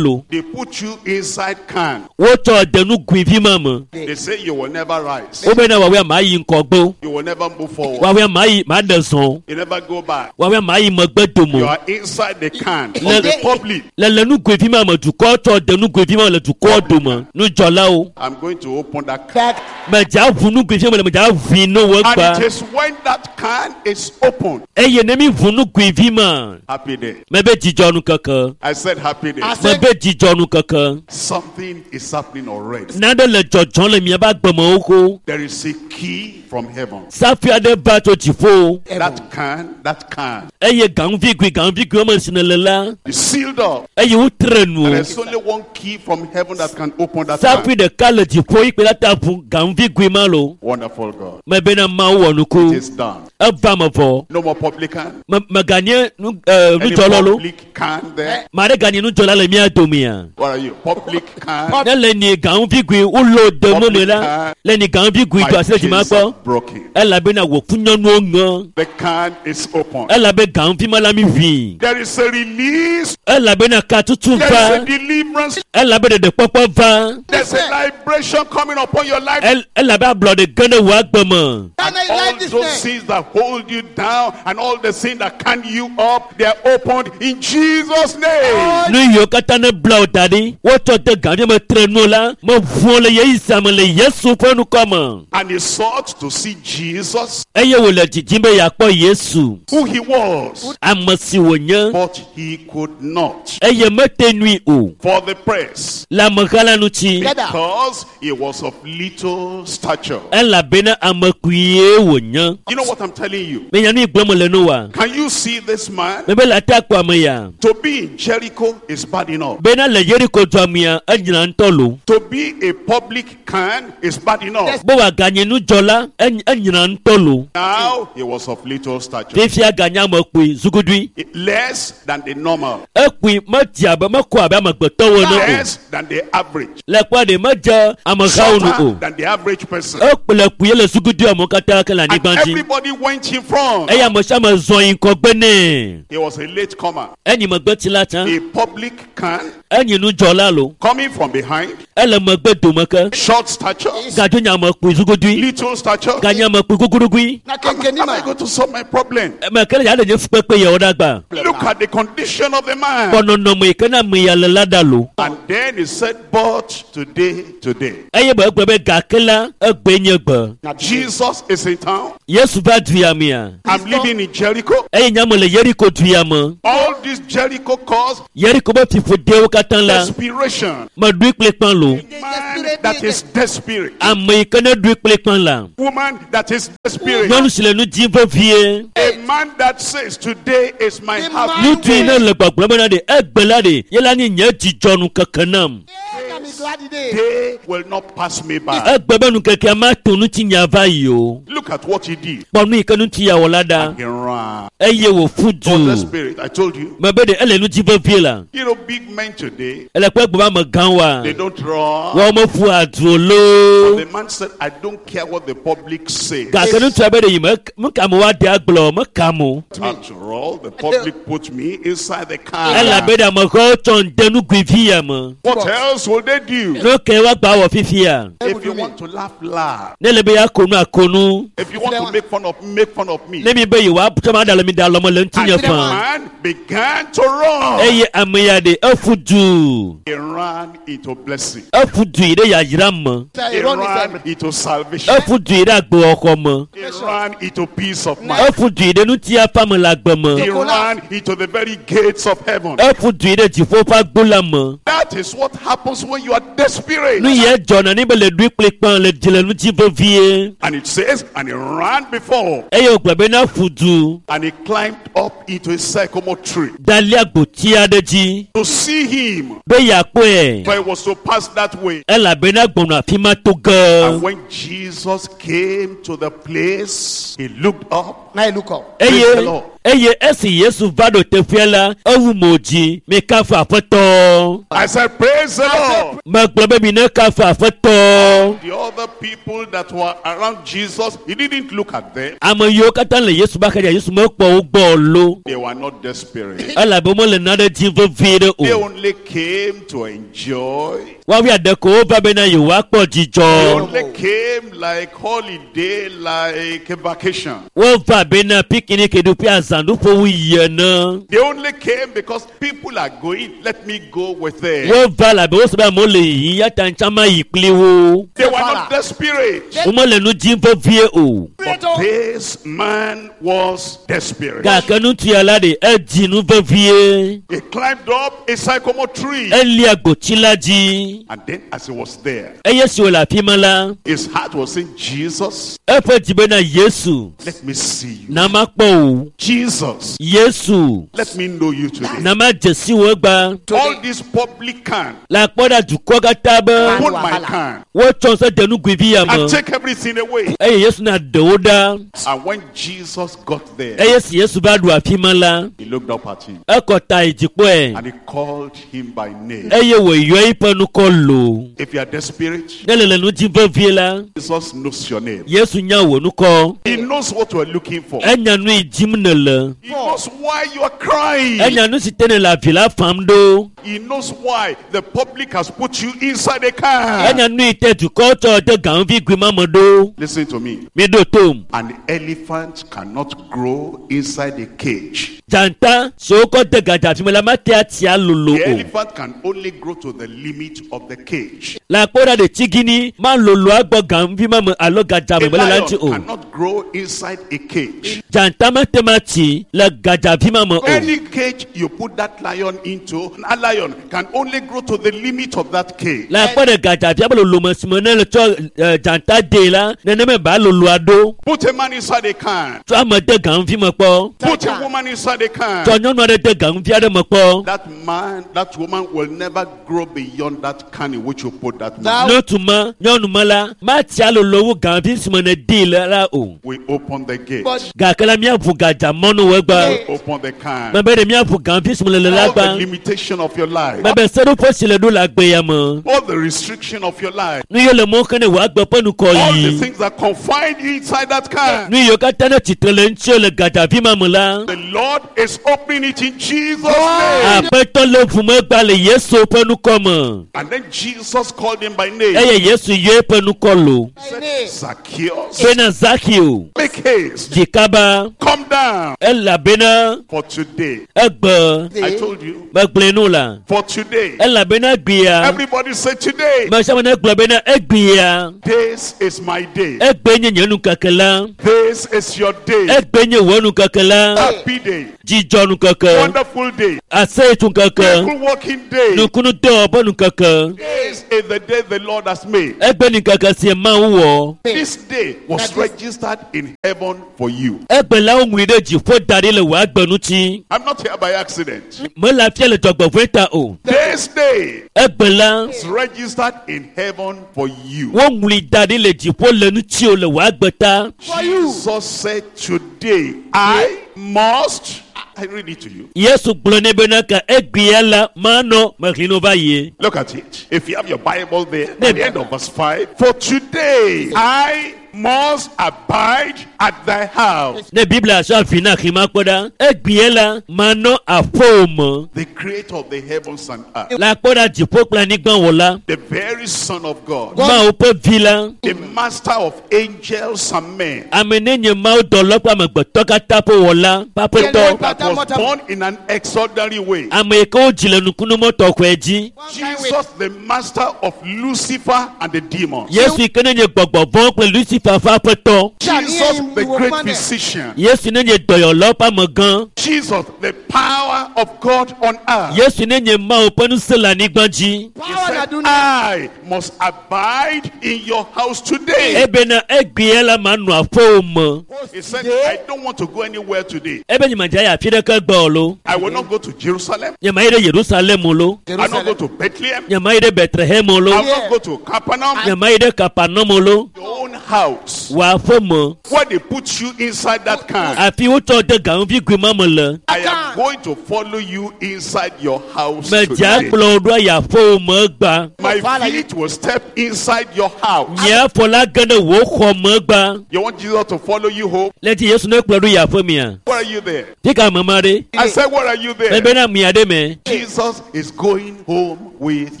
lo. They put you inside can. Wotsɔ de nugui vi ma me. They say you will never rise. Wobena woawoe ma yi ŋgɔgbe o. You will never move forward. Woawoe ma yi ma ɖe zɔn. You never go back. Woawoe ma yi megbe dome You o. are inside the can of Le- the public. Le le nugui vi ma me dukɔ tsɔ de nugui vi ma me le dukɔ dome. Nudzɔlawo. I'm going to open that can. Medza ʋu nugui vi me le medza ʋui no wo And gba. it is when that can is opened. Eye ne mi ʋu nugui vi ma, Happy day. mebe dzidzɔ nu keke. I said happy day. Mebe dzidzɔ nu keke. Something is happening already. Nane le dzɔdzɔm le miaƒe agbemewo ko. There is a key from heaven. Safi aɖe va tso dziƒo. That can, that can Eye gaŋuvi gui gaŋuvi gui wɔme si ne le la, is sealed up. eye wotre nu. And there's only one key from heaven that can open that can. Safi ɖeka le dziƒo yi kpe la ta ʋu gaŋuvi gui ma lo. Wonderful God. Mebena Mawu wɔ It nuku. is done. Eva me vɔ. No more publican. Me meganye nu ɛ Any nudzɔlɔ lo. public can there. Ma ɖe ganye nudzɔla le mía domea. What are you? Public can. Ne le ni gaŋuvi gui wolo de mo me la, le ni gaŋuvi gui My do asi le dzima chains are kpɔ. broken. Elabena wò funyɔnuwo ŋe. The can is open. Elabe gaŋuvi ma la mi ʋui. There is a release. Elabena katutu There is va. a deliverance. Elabe ɖeɖekpɔkpɔ va. There's a liberation coming upon your life. El elabe ablɔɖe ge ɖe wò agbe me. Can I All like this those name? sins that hold you down and all the sins that can you up, they are opened in Jesus' name. Nu yiwo katã ne bla wo da ɖi, wotsɔ de gaŋuvi me tre nu la, meʋu le yeyi sia me le Yesu ƒe ŋkɔ me. And he sought to see Jesus, Eye wòle dzidzim be yeakpɔ Yesu, who he was, ame si wònye, but he could not eye mete nui o for the press le ameha la ŋuti because he was of little stature. elabena ame kpuie wònye. nye You know what I'm telling you? menya nu yi gblɔm le no wa Can you see this man? mebe le ate akpɔ ame ya To be in Jericho is bad enough. bena le yeriko dua mea enyina ŋutɔ lo To be a public can is bad enough. be wòaganye nudzɔla eny- enyina ŋutɔ lo Now he was of little stature, fifia ganye ame kpui zugudui less than the normal, ekpui medze abe mekɔ abe amegbetɔwo ene o less than the average, le kpɔ ɖe medze amehawo nu o shorter than the average person. ekple kpui le zugudui amewo katã ke le And anyigba dzi everybody went in front. eye ame sia ame zɔ yi ŋgɔgbe nɛ He was a late comer, enyi megbetsi la tsã a public can enyi nudzɔla lo coming from behind, ele megbe dome ke short stature, gadzo nye ame kpui zugudui little stature. ganye ame kpui guguɖugui Na Am, kenkeni am ma. I going to solve my problem? eme ke le ya ɖe nye fukpekpe yawo ɖe agba Look at the condition of the man. kpɔ nɔnɔme yi ke na ame ya le la ɖa lo And then he said, But today, today, eye be egblɔ be gake la egbe nye gbe Jesus is in town. yesu va du ya mea I'm living in Jericho. eye nye ame le yeriko du ya me All this Jericho caused yeriko be fiƒodewo katã la desperation. meɖui kple kpã lo Man that is desperate. ame yi ke ne ɖui kple kpã la Woman that is desperate. nyɔnu si le nu dim vevie A man that says, Today is my The happy man- nutui ne le gbɔgblɔm bena ɖe egbe la ɖe ye la nye nye dzidzɔnu keke nam Yeah, I'm glad today. day will not pass me by. egbe be nukekea mato ŋutinya va yi o Look at what he did. kpɔ nu yi ke ŋuti ya wɔ la ɖa He ran. eye wòfu Was du desperate. I told you. mebe ɖe ele nu dim vevie la You know, big men today, ele kpe gbe be amegã wa they don't run. wɔwo mefu adu o loo The man said, I don't care what the public says. gake ŋutsua be ɖe yi me meka me woaɖe agblɔ meka mo After all, the public put me inside the car. elabe ɖe amehawo tsɔ ŋde nugui vi ya me What else will they do? nu ke woagba wɔ fifia If you want to laugh, laugh. ne le be ya konu akonu If you want to make fun of me, make fun of me. ne mi be yewoatsɔ ma ɖe le mi ɖe alɔme le And ŋutinye the fã man began to run. eye ame ya ɖe efu du He ran into blessing. efu du yi ɖe yayra me He He run ran inside. into salvation. efu du yi ɖe agbewɔxɔ me He ran into peace of mind. efu du yi ɖe ŋutiafa me le agbe me He ran into the very gates of heaven. efu du yi ɖe dziƒo ƒe agbo la me That is what happens when you are desperate. nu yɛ dzɔna ne be le ɖui kple kpã le dzi le ŋuti vevie And it says, and he ran before, eye wògblɔ be na fu du and he climbed up into a sycamore tree dalia gboti aɖe dzi to see him. be yeakpɔe For he was to pass that way. elabena gbɔnɔ afi ma to ge And when Jesus came to the place, he looked up. Now you look up. Praise the eye Lord. eye esi yesu va ɖo teƒea la ewu mo dzi mikafu aƒetɔ I said, Praise the Lord. megblɔ be mi ne kafu aƒetɔ The other people that were around Jesus, he didn't look at them. ame yiwo katã le yesu ba xedza yesu mekpɔ wo gbɔ o lo They were not desperate. elabe womele nane dim vevie ɖe They o only came to enjoy. woawoe aɖe ko wova bena yewoakpɔ They dzidzɔ only came like holiday, like a vacation. wova bena pikiniki ɖuƒe azãɖuƒewo yi ene They only came because people are going. Let me go with them. wova labe wose be amewo le yiyim ya ta ŋutsa ma yi kpli wo They were not desperate. womele nu dim vevie o But this man was desperate. gake ŋutsu ya la ɖe edzi nu vevie He climbed up a sycamore tree. elia gboti la dzi And then as he was there, eye si wòle afi ma la his heart was saying, Jesus, eƒe dzi bena yesu let me see you. na makpɔ wò Jesus, yesu let me know you today. na madze si wò egba All this public can, le akpɔ ɖa dukɔ katã be put my can wotsɔ se de nugui vi ya me and take everything away. eye yesu na ɖe wo ɖa And when Jesus got there, eye si yesu va ɖu afi ma la he looked up at him ekɔ ta yi dzikpɔe and he called him by name. eye wòyɔ eƒe ŋkɔ lo If you are desperate, ne le le nu dim vevie la Jesus knows your name. yesu nya wò ŋkɔ He knows what you are looking for. enya nu yi dim nèle He knows why you are crying. enya nu si te nèle avi la fam ɖo He knows why the public has put you inside a car. enya nu yi te dukɔ tsɔ de gaŋvi gui ma me ɖo Listen to me. mi ɖo tom An elephant cannot grow inside a cage. dzata si wokɔ de gadza fi me la mate atia lolo The o elephant can only grow to the limit of of the cage. Le akpɔ ɖa ɖe tsigini ma lolo agbɔ ganuvi ma me alo A gadzame me le la lion ŋuti o. cannot grow inside a cage. Dzata mete ma tsi le gadzavi ma me o. Any cage you put that lion into, a lion can only grow to the limit of that cage. Le akpɔ ɖe gadzavia be lolome si me ne le tsɔ eh, dzata dee la nenema ba loloa ɖo. Put a man inside a can. Tsɔ ame de ganuvi me kpɔ. Put a woman inside a can. Tsɔ nyɔnu aɖe de ganuvi aɖe me kpɔ. That man, that woman will never grow beyond that can in which you put that man. Ŋutsu ma nyɔnu ma la matsi alolo wu ganuvi si me ne dee le la o. We open the gate. Gake la míaʋu gadzamɔnuwo egba. Open the can. Mebe ɖe míaʋu ganuvi si me le le la All the gba. limitation of your life. Mebe seɖoƒe si le ɖo le agbe ya me. All the restriction of your life. Nu yiwo le mɔ xe ne wò agbe ƒe nukɔ All the yi. things that confine you inside that can. Nu yiwo katã ne tsitre le ŋuti le gadzavi ma me la. The Lord is opening it in Jesus' name. Aƒetɔ le ʋu megba le Yesu ƒe nukɔ me. And then Jesus called him by name. Eye Yesu yɔ eƒe nukɔ lo. Said, Zacchaeus, Bena Zakeo make haste. dzi kaba Come down elabena for today. egbe I told you. megblɔe nu la. For today. Elabena egbea. Everybody say today. Ame sia ame ne gblɔ bena egbea. This is my day. Egbe nye nye nukeke la. This is your day. Egbe nye wò nukeke la. Happy day. Dzidzɔ nukeke. Wonderful day. Aseyetsu nkeke. Miracle working day. Nukunu dɔwɔƒe nukeke. This is the day the Lord has made. Egbe nukeke si Mawu wɔ. This day was registered in heaven for you. Egbe la woŋlɔe ɖe dziƒo da ɖi le wò agbe ŋuti. I'm not here by accident. Mele afia le dzɔgbevɔ̃e ta o. This day Egbe la is registered in heaven for you. woŋlɔe da ɖi le dziƒo le ŋutiwò le wò agbe ta. Jesus said, today I must. I read it to you. Yesu gblɔ nɛ bena ka egbea la manɔ mexlẽ no va yie. Look at it. If you have your Bible there, at the end of verse five. For today I must abide at thy house. Ne Biblia sɔ afi na xlẽ ma kpɔ ɖa. Egbea la manɔ aƒewò me. The creator of the heavens and earth, Le akpɔ ɖa dziƒo kple anyigba wɔ la. the very Son of God, Mawu ƒe vi la. the master of angels and men, Ame ne nye Mawu dɔlɔ kple amegbetɔ katã ƒe wɔla ƒe aƒetɔ. that was born in an extraordinary way. Ame yi ke wodzi le nukunumɔ tɔxɔe dzi. Jesus, the master of Lucifer and the demons. Yesu yi ke ne nye gbɔgbɔ vɔ̃ kple Lucifer ƒe aƒetɔ. Jesus, the great physician. Yesu ne nye dɔyɔlawo ƒe amegã. Jesus, the power of God on earth. Yesu ne nye Mawu ƒe ŋusẽ le anyigba dzi. He said, I must abide in your house today. Ebena egbea la manɔ aƒewò me. He said, I don't want to go anywhere today. Ebe nye medze ayi afi ɖeke gbɔ o lo. I will not go to Jerusalem. Nye mayi ɖe Yerusalem o lo. I will not go to Bethlehem. Nye mayi ɖe Bethlehem o lo. I will not go to Capernaum. Nye mayi ɖe Kapernaum o lo. Your own house. Wò aƒe me. Where they put you inside that can. Afi wotsɔ de ganuvi gui ma me le. I am going to follow you inside your house Medze today. akplɔ wò ɖo ayi aƒewò me gbã. My feet will step inside your house. Nye afɔ la ge ɖe wò xɔ me gbã. You want Jesus to follow you home? Le dzi Yesu ne kplɔ ɖo yi aƒe mea. Where are you there? Fi ka ame ma ɖe? I said, where are you there? Mebena mia ɖe me. Jesus is going home with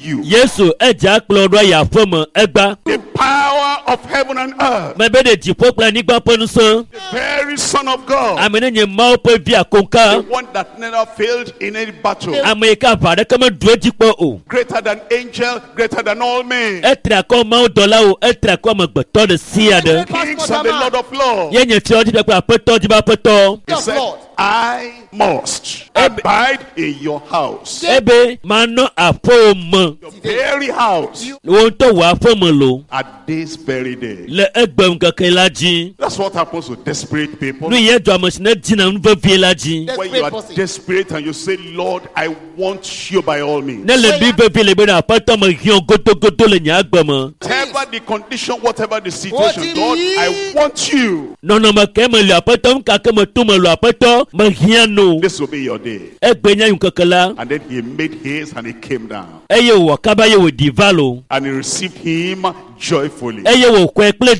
you. Yesu edze akplɔ ɖo ayi aƒe me egbã. The power of heaven and earth. Mebe ɖe dziƒo kple anyigba ƒe ŋusẽ. The very Son of God. Ame ne nye Mawu ƒe vi The akoŋka. one that never failed in any battle. Ame yi ke aʋa ɖeke meɖu edzi kpɔ o. Greater than angel, greater than all men. Etri akɔ Mawu dɔlawo, etri akɔ amegbetɔ ɖe sia ɖe. Kings and the Lord of Lords. Ye nye fiawo dzi kple aƒetɔ dzi be aƒetɔ. He said, I must abide in your house. Ebe manɔ aƒewò me. Your very house. Wò ŋutɔ wò aƒe me lo. At this very day. Le egbe ŋkeke la dzi. That's what happens to desperate people. Nu ye dzɔ ame si ne dina nu vevie la dzi. When you are desperate and you say, Lord, I want you by all means. Ne le nu vevie le bena aƒetɔ me hiã godogodo le nye agbe me. Whatever the condition, whatever the situation, Lord, I want you. Nɔnɔme ke me le aƒetɔ nu ka ke me to me le aƒetɔ me hiã no. This will be your day. Egbe nye ŋkeke la. And then he made haste and he came down. Eye wòwɔ kaba ye wòɖi va lo. And he received him joyfully. Eye wòkɔe kple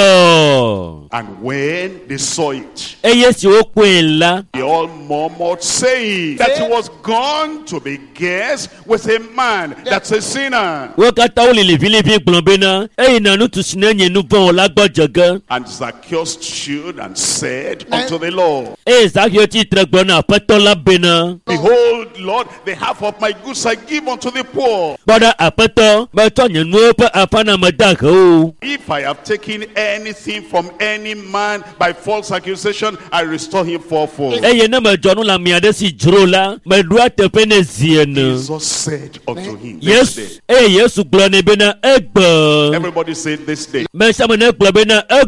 dzidzɔ. And when they saw it, Eye si wokpɔe la, they They all murmured, saying that he was gone to be guest with a man that's a sinner. Wo katã wole liʋiliʋi gblɔ bena eyina ŋutsu si ne nye nu vɔ̃ wɔla gbɔ dze ge. And Zacchaeus stood and said unto the Lord, Eye Zakeo tsitre gblɔ na aƒetɔ la bena Behold, Lord, the half of my goods I give unto the poor. kpɔ ɖa aƒetɔ metsɔ nye nuwo ƒe afã na ame dahewo. If I have taken anything from any man by false accusation, I restore him fourfold. Eye ne medzɔ nu le ame aɖe si dzro la meɖoa teƒe nɛ zi ene. Jesus said unto him, This Yesu day. eye Yesu gblɔ nɛ bena egbe. Everybody say this day. Me sia me ne gblɔ bena When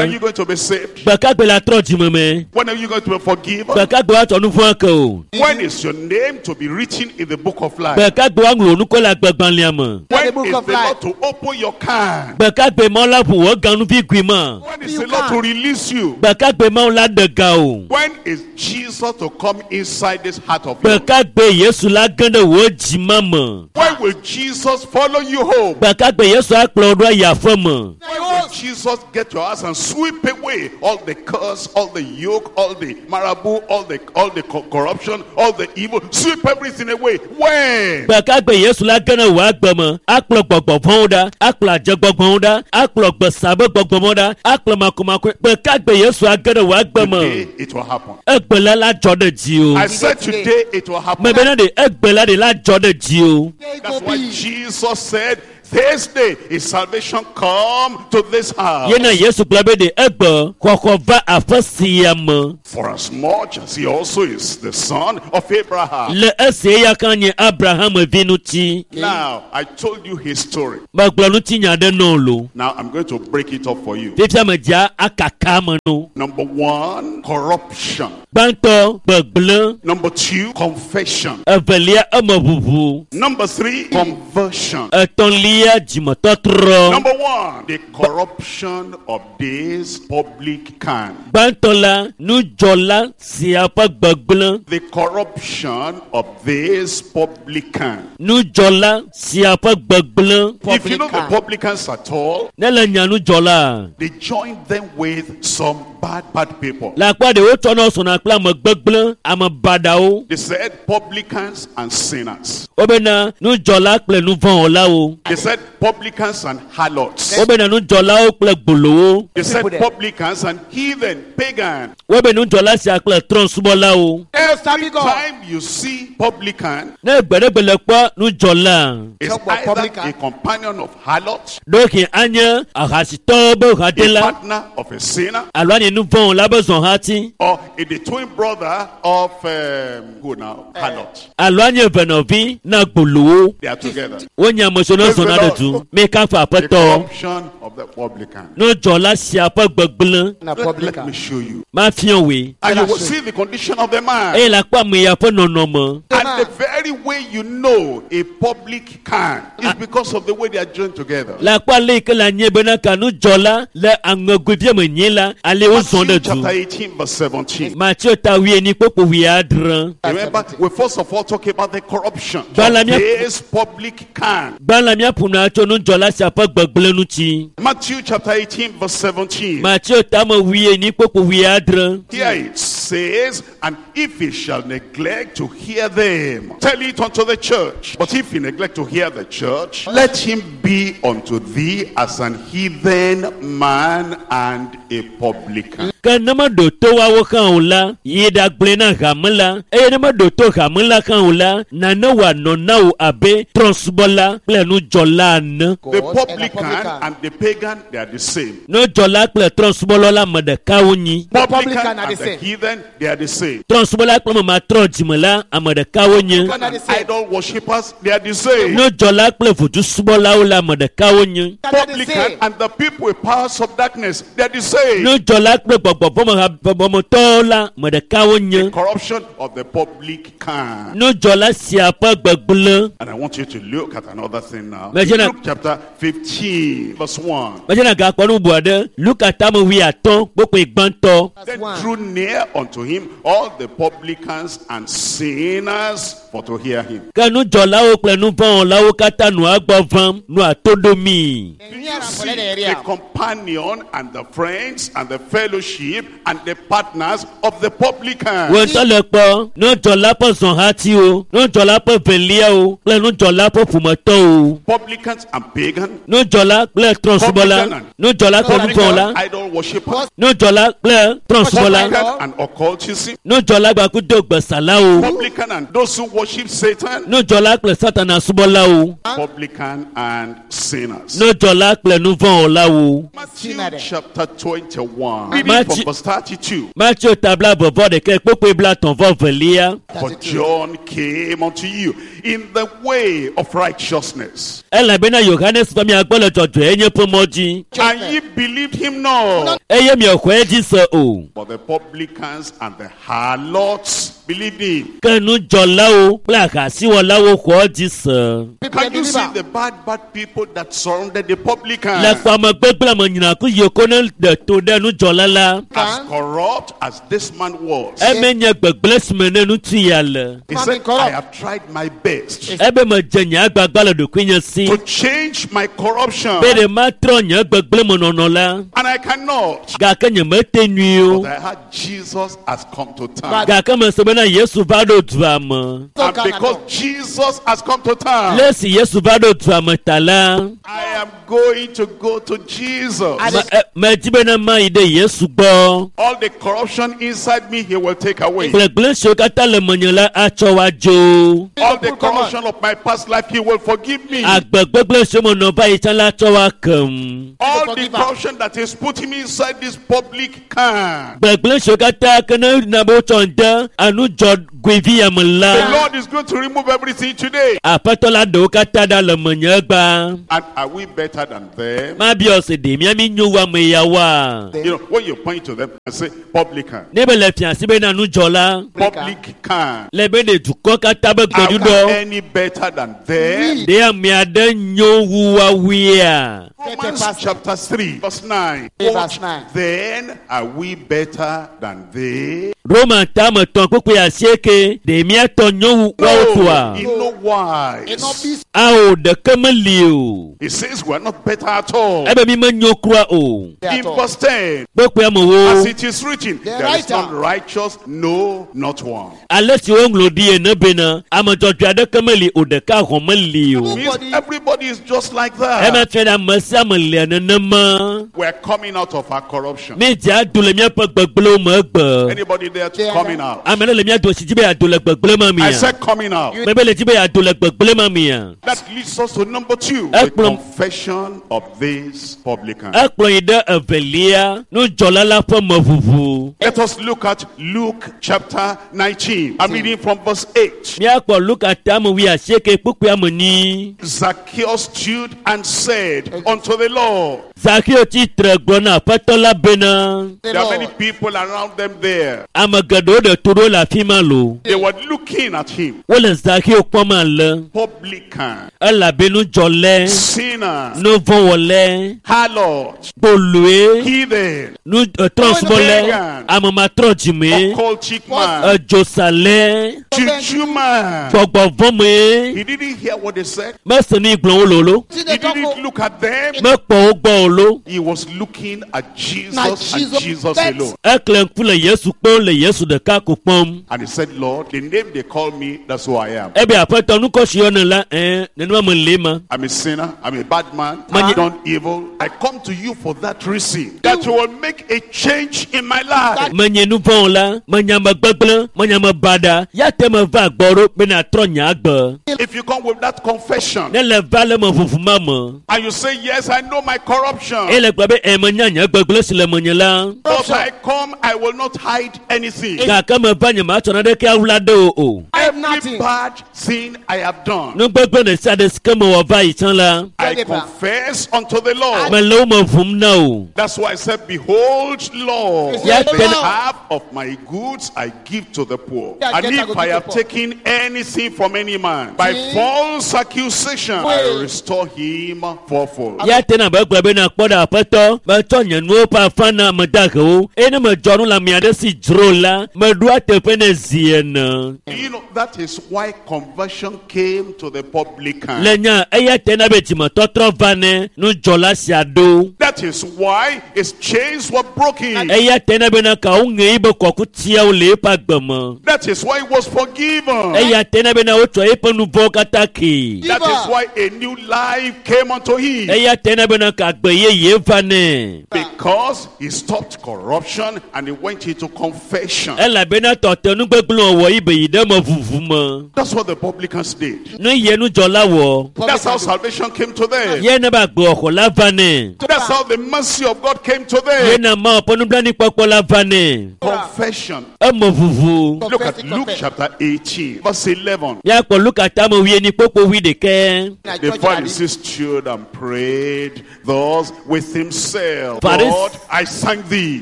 are egbe. you going to be saved? Gbe ka gbe la trɔ dzime me? When are you going to be forgiven? Gbe ka gbe woatsɔ nu vɔ̃ ake o? When is your name to be written in the book of life? Gbe ka gbe woaŋlɔ nu kɔ le agbegbalẽa me? When The book is of the life. Lord to open your can? Gbe ka gbe Mawu la ʋu wò ganuvi gui ma? When is the Lord to release you? Gbe ka gbe Mawu la ɖe ga o? When is Jesus to come inside this heart of Gbe yours? ka gbe Yesu la ge ɖe wò dzima me? When will Jesus follow you home? Gbe ka gbe Yesu akplɔ wò ɖo ayi aƒe me? When will Jesus get your house and sweep away all the curse, all the yoke, all the marabout, all the all the co- corruption, all the evil? Sweep everything away. When? Gbe ka gbe Yesu la ge ɖe wò agbe me akplɔ gbɔgbɔ vɔ̃wo ɖa, akplɔ adzegbɔgbɔwo ɖa, akplɔ gbesabe gbɔgbɔmɔ ɖa, akplɔ makomako. Gbe ka gbe Yesu age ɖe wò agbe me? Today it will happen. Egbe la la dzɔ ɖe dzi I o. said today it will happen. Mebe na ɖe egbe la ɖe la dzɔ ɖe dzi o. There it That's go why be. Jesus said, This day is salvation come to this house. Yena Yesu gblɔ be ɖe egbe xɔxɔ va aƒe sia me. For as much as he also is the son of Abraham. Le esi eya ka nye Abraham vi ŋuti. Now, I told you his story. Megblɔ ŋutinya ɖe nɔ lo. Now, I'm going to break it up for you. Fifia medzia akaka me no. Number one, corruption. Gbãtɔ gbegblẽ, Number two, confession. evelia emeʋuʋu, Number three, conversion. etɔ̃lia dzimetɔtrɔ. Number one, the corruption of this public can. Gbãtɔ la nudzɔla sia ƒe gbegblẽ, The corruption of this publican. nudzɔla sia ƒe gbegblẽ. If you know the publicans at all, Ne le nya nudzɔla, they join them with some bad, bad people. le akpa ɖewo tsɔna sɔna kple ame gbegblẽ, ame baɖawo. They said publicans and sinners. Wobena nudzɔla kple nuvɔ̃wɔlawo. They said publicans and harlots. Wobena nudzɔlawo kple gbolowo. They said People there. publicans and heathen, pagan. Wobe nudzɔla sia kple trɔ̃subɔlawo. Every God. time you see publican, Ne gbe ɖe gbe le kpɔ nudzɔla, it's Talk about either publican. a companion of harlots, ɖewohĩ anye ahasitɔwo be a hadela partner of a sinner, alo anye nuvɔ̃wɔla be zɔhati or a the twin brother of um, who now? Harlot. alo anye venɔvi na gbolowo. They are together. Wonye ame siwo ne zɔna ɖe du. Mi kafu The aƒetɔ. corruption of the publican. Nudzɔla sia ƒe gbegblẽ Na Let, let publican. me show you. mafia wòe. And you will see the condition of the man. Eye le akpɔ ame ya ƒe nɔnɔme. And the very way you know a public can is because of the way they are joined together. Le akpɔ ale yi ke le anye bena ka nudzɔla le aŋegoevia me nyi la ale wozɔ Matthew ɖe du. chapter eighteen, verse seventeen. Mateo ta wuienyi kpokpo wuiadre. Remember, we first of all talk about the corruption of Bala- this public can. Gbã la míaƒo nu tso nudzɔla sia ƒe gbegblẽ ŋuti. Matthew chapter eighteen, verse seventeen. Mateo ta me wuienyi kpokpo wuiadre. Here it says, and if he shall neglect to hear them, tell it unto the church. But if he neglect to hear the church, let him be unto thee as an heathen man and a publican. Ke ne meɖo to woawo hã o la, yi ɖagblɔe na hame la. Eye ne meɖo to hame la hã o la, nane wòanɔ na wò abe trɔ̃subɔla kple nudzɔla ene. The God and the publican publican. and the pagan, they are the same. Nudzɔla kple trɔ̃subɔla la ame ɖeka wonyi. The Publican publican are and the the same. heathen, they are the same. Trɔ̃subɔla kple ame matrɔ dzime la ame ɖeka wonye. Publican are the same. Idol worshippers, they are the same. Nudzɔla kple vodusubɔlawo la ame ɖeka wonye. Are the Publican same. and the people with powers of darkness, they are the same. Nudzɔla kple gbɔgbɔvɔmɔtɔwo la ame ɖeka wonye. Corruption of the public can. Nudzɔla sia ƒe gbegblẽ. And I want you to look at another thing now. Imagine a- Luke chapter fifteen, verse one. Medzena gakpɔ nu bubu aɖe. Luka tame wuiatɔ̃ kpokpoe gbãtɔ. Verse Then one. drew near unto him all the publicans and sinners for to hear him. Ke nudzɔlawo kple nuvɔ̃wɔlawo katã nɔa gbɔ vam nɔa to ɖomii. Do you see the companion and the friends and the fellowship fellowship and the partners of the publican. Wo ŋutɔ le kpɔ nudzɔla ƒe zɔhatiwo, nudzɔla ƒe veliawo kple nudzɔla ƒe ƒometɔwo. Publicans and pagan, Nudzɔla kple trɔ̃subɔla, nudzɔla kple publican nuvɔ̃wɔla, idol worshippers, nudzɔla kple trɔ̃subɔla, publican and occultism, nudzɔla gbakudo gbesalawo, publican and those who worship Satan, nudzɔla kple satana subɔlawo, publican and sinners. nudzɔla kple nuvɔ̃wɔlawo. Matthew Sinner. chapter twenty-one, reading Matthew- from verse thirty-two. Matthew ta bla vɔvɔ ɖeka kpokpoe bla tɔ̃ vɔ velia. For John came unto you in the way of righteousness, Elabena Yohanes va mia gbɔ le dzɔdzɔenye ƒe mɔ dzi and ye believed him not. eye miexɔe dzi se o. But the publicans and the harlots believed him. Ke nudzɔlawo kple ahasiwɔlawo xɔ edzi se. Can you see the bad, bad people that surrounded the Le publicans? kpɔame gbegblẽ me nyinaku yiwo ko ne ɖe to ɖe nudzɔla la, As corrupt as this man was, eme nye gbegblẽ si me ne ŋutsu ya le. he said, I have tried my best Ebe medze nye agbagba le ɖokuinye si to change my corruption, be ɖe matrɔ nye gbegblẽ me nɔnɔ la, and I cannot. gake nyemete nyui o. But I heard Jesus has come to town. Gake mese bena Yesu va ɖo dua me. And because Jesus has come to town, Le esi Yesu va ɖo dua me ta la, I am going to go to Jesus. me- e- medi bena mayi ɖe Yesu gbɔ. All the corruption inside me, he will take away. Gblegblẽ siwo katã le menye la atsɔ wa dzo. All the corruption of my past life, he will forgive me. Agbe gbegblẽ siwo menɔ va yi tsã la atsɔ wa kem. All the Forgive her. corruption that is putting me inside this public can. Gbegblẽ siwo katã ke ne na be wotsɔ ŋde anudzɔgoevi ya me The la, Lord is going to remove everything today. Aƒetɔ la ɖe wo katã ɖa le menye egba. And are we better than them? Mabiɔ se ɖe mía mi nyo wu ame yawoa? You know, when you point to them and say, publican, Ne be le fia si bena nudzɔla, public can. le be ɖe dukɔ katã be Are we gbeɖuɖɔ, any better than them? ɖe ame aɖe nyo wu woawoea? Romans chapter three, verse nine. Verse What nine. then are we better than they? Roma tame tɔn kpukpui asieke, ɖe míatɔ nyo wu woawo No, toa? in no wise. Ao ɖeke meli o. He says we are not better at all. Ebe mi menyo kura o. In verse ten, Kpukpui amewo. as it is written, The there is writer. none righteous, no, not one. Ale si woŋlɔ ɖi ene bena ame dzɔdzɔe aɖeke meli o ɖeka hɔn meli o. Means Nobody- everybody is just like Ema that. fia ɖe ame sia ame lia nenema. We are coming out of our corruption. Mi dze ado le míaƒe gbegblẽwo me egbe. Anybody there to There. coming out? Ame ɖe le mía dome si dzi be yeado le gbegblẽ ma I mia. said coming out. Mebe le dzi be yeado le gbegblẽ ma mia. That leads us to number two, the Ekplɔ- confession of this publican. Ekplɔ yi ɖe evelia nudzɔla la ƒe meʋuʋu. Let us look at Luke chapter nineteen. I'm reading from verse eight. Míakpɔ Luka tame wuiasieke kpukpui ame enyi. Zacchaeus stood and said unto the Lord, Zakeo tsitre gblɔ na aƒetɔ la bena There are many people around them there. ame geɖewo ɖe to ɖo le afi ma lo. They were looking at him. Wole Zakeo kpɔm ale Publican, elabe nudzɔlɛ, sinner, nuvɔ̃wɔlɛ, harlot, kpoloe, heathen, nu trɔsubɔlɛ, ame dzime, occultic man, edzosalɛ, juju man. gbɔgbɔvɔ̃me. He didn't hear what they said. Mese nu yi gblɔm wole o lo, He didn't look at them. mekpɔ wo gbɔ o lo. He was looking at Jesus Na and Jesus Jesus bet. alone. Ekle ŋku le Yesu kpɔm le Yesu ɖeka ko kpɔm. And he said, Lord, the name they call me, that's who I am. Ebe aƒetɔ nukɔsi yɔne la, ɛɛ nenema me le ma. I'm a sinner. I'm a bad man. Man- I've done evil. I come to you for that reason. That you will make a change in my life. Menye nuvɔ̃wɔla, menye ame gbegblẽ, menye ame baɖa. Ya te meva gbɔ ɖo be nàtrɔ nye agbe. If you come with that confession Ne le va le me ʋuʋu ma me, and you say, yes, I know my corruption. eye le gblɔ be ɛ menya nye gbegblẽ si le menye la. But I come, I will not hide anything. Gake meva nye matsɔ naneke awla ɖe o o. Every Nothing. bad thing I have done, Nu gbegblẽ ɖe sia ɖe si ke mewɔ va yi tsã la, I confess unto the Lord. mele wo me ʋum na o. That's why I said, behold, Lord, Ya the Half of my goods I give to the poor. And if I have taken anything from any man by false accusation, I restore him fourfold. Ya tena be gblɔ bena kpɔ ɖe aƒetɔ metsɔ nye nuwo ƒe afã na ame dahewo eye ne medzɔ nu le ame aɖe si dzro la meɖoa teƒe ne zi ene. You know, that is why conversion came to the publican. Le nya eya tena be dzimetɔtrɔ va ne nudzɔla sia ɖo. That is why his chains were broken. Eya tena bena kawo ŋe yibe kɔkutiawo le eƒe agbe me. That is why he was forgiven. Eya tena bena wotsɔ eƒe nu vɔ̃wo katã kee. That is why a new life came unto him. Eya tena bena ka agbe yeye va nɛ. Because he stopped corruption and he went into confession. Elabena tɔte nugbegblẽ wɔwɔ yi be yi ɖe me vuvu me. That's what the publicans did. Nu ye nudzɔla wɔ. That's how salvation came to them. Ye ne be agbewɔxɔ la va nɛ. That's how the mercy of God came to Ye them. na Mawu ƒe nublanuikpɔkpɔ la va nɛ. Confession. Eme vuvu. Look at Luke chapter eighteen, verse eleven. Míakpɔ Luka tame wuienyi kpokpo wuiɖekɛ. The Pharisee stood and prayed thus with himself. Pharis- God, I thank thee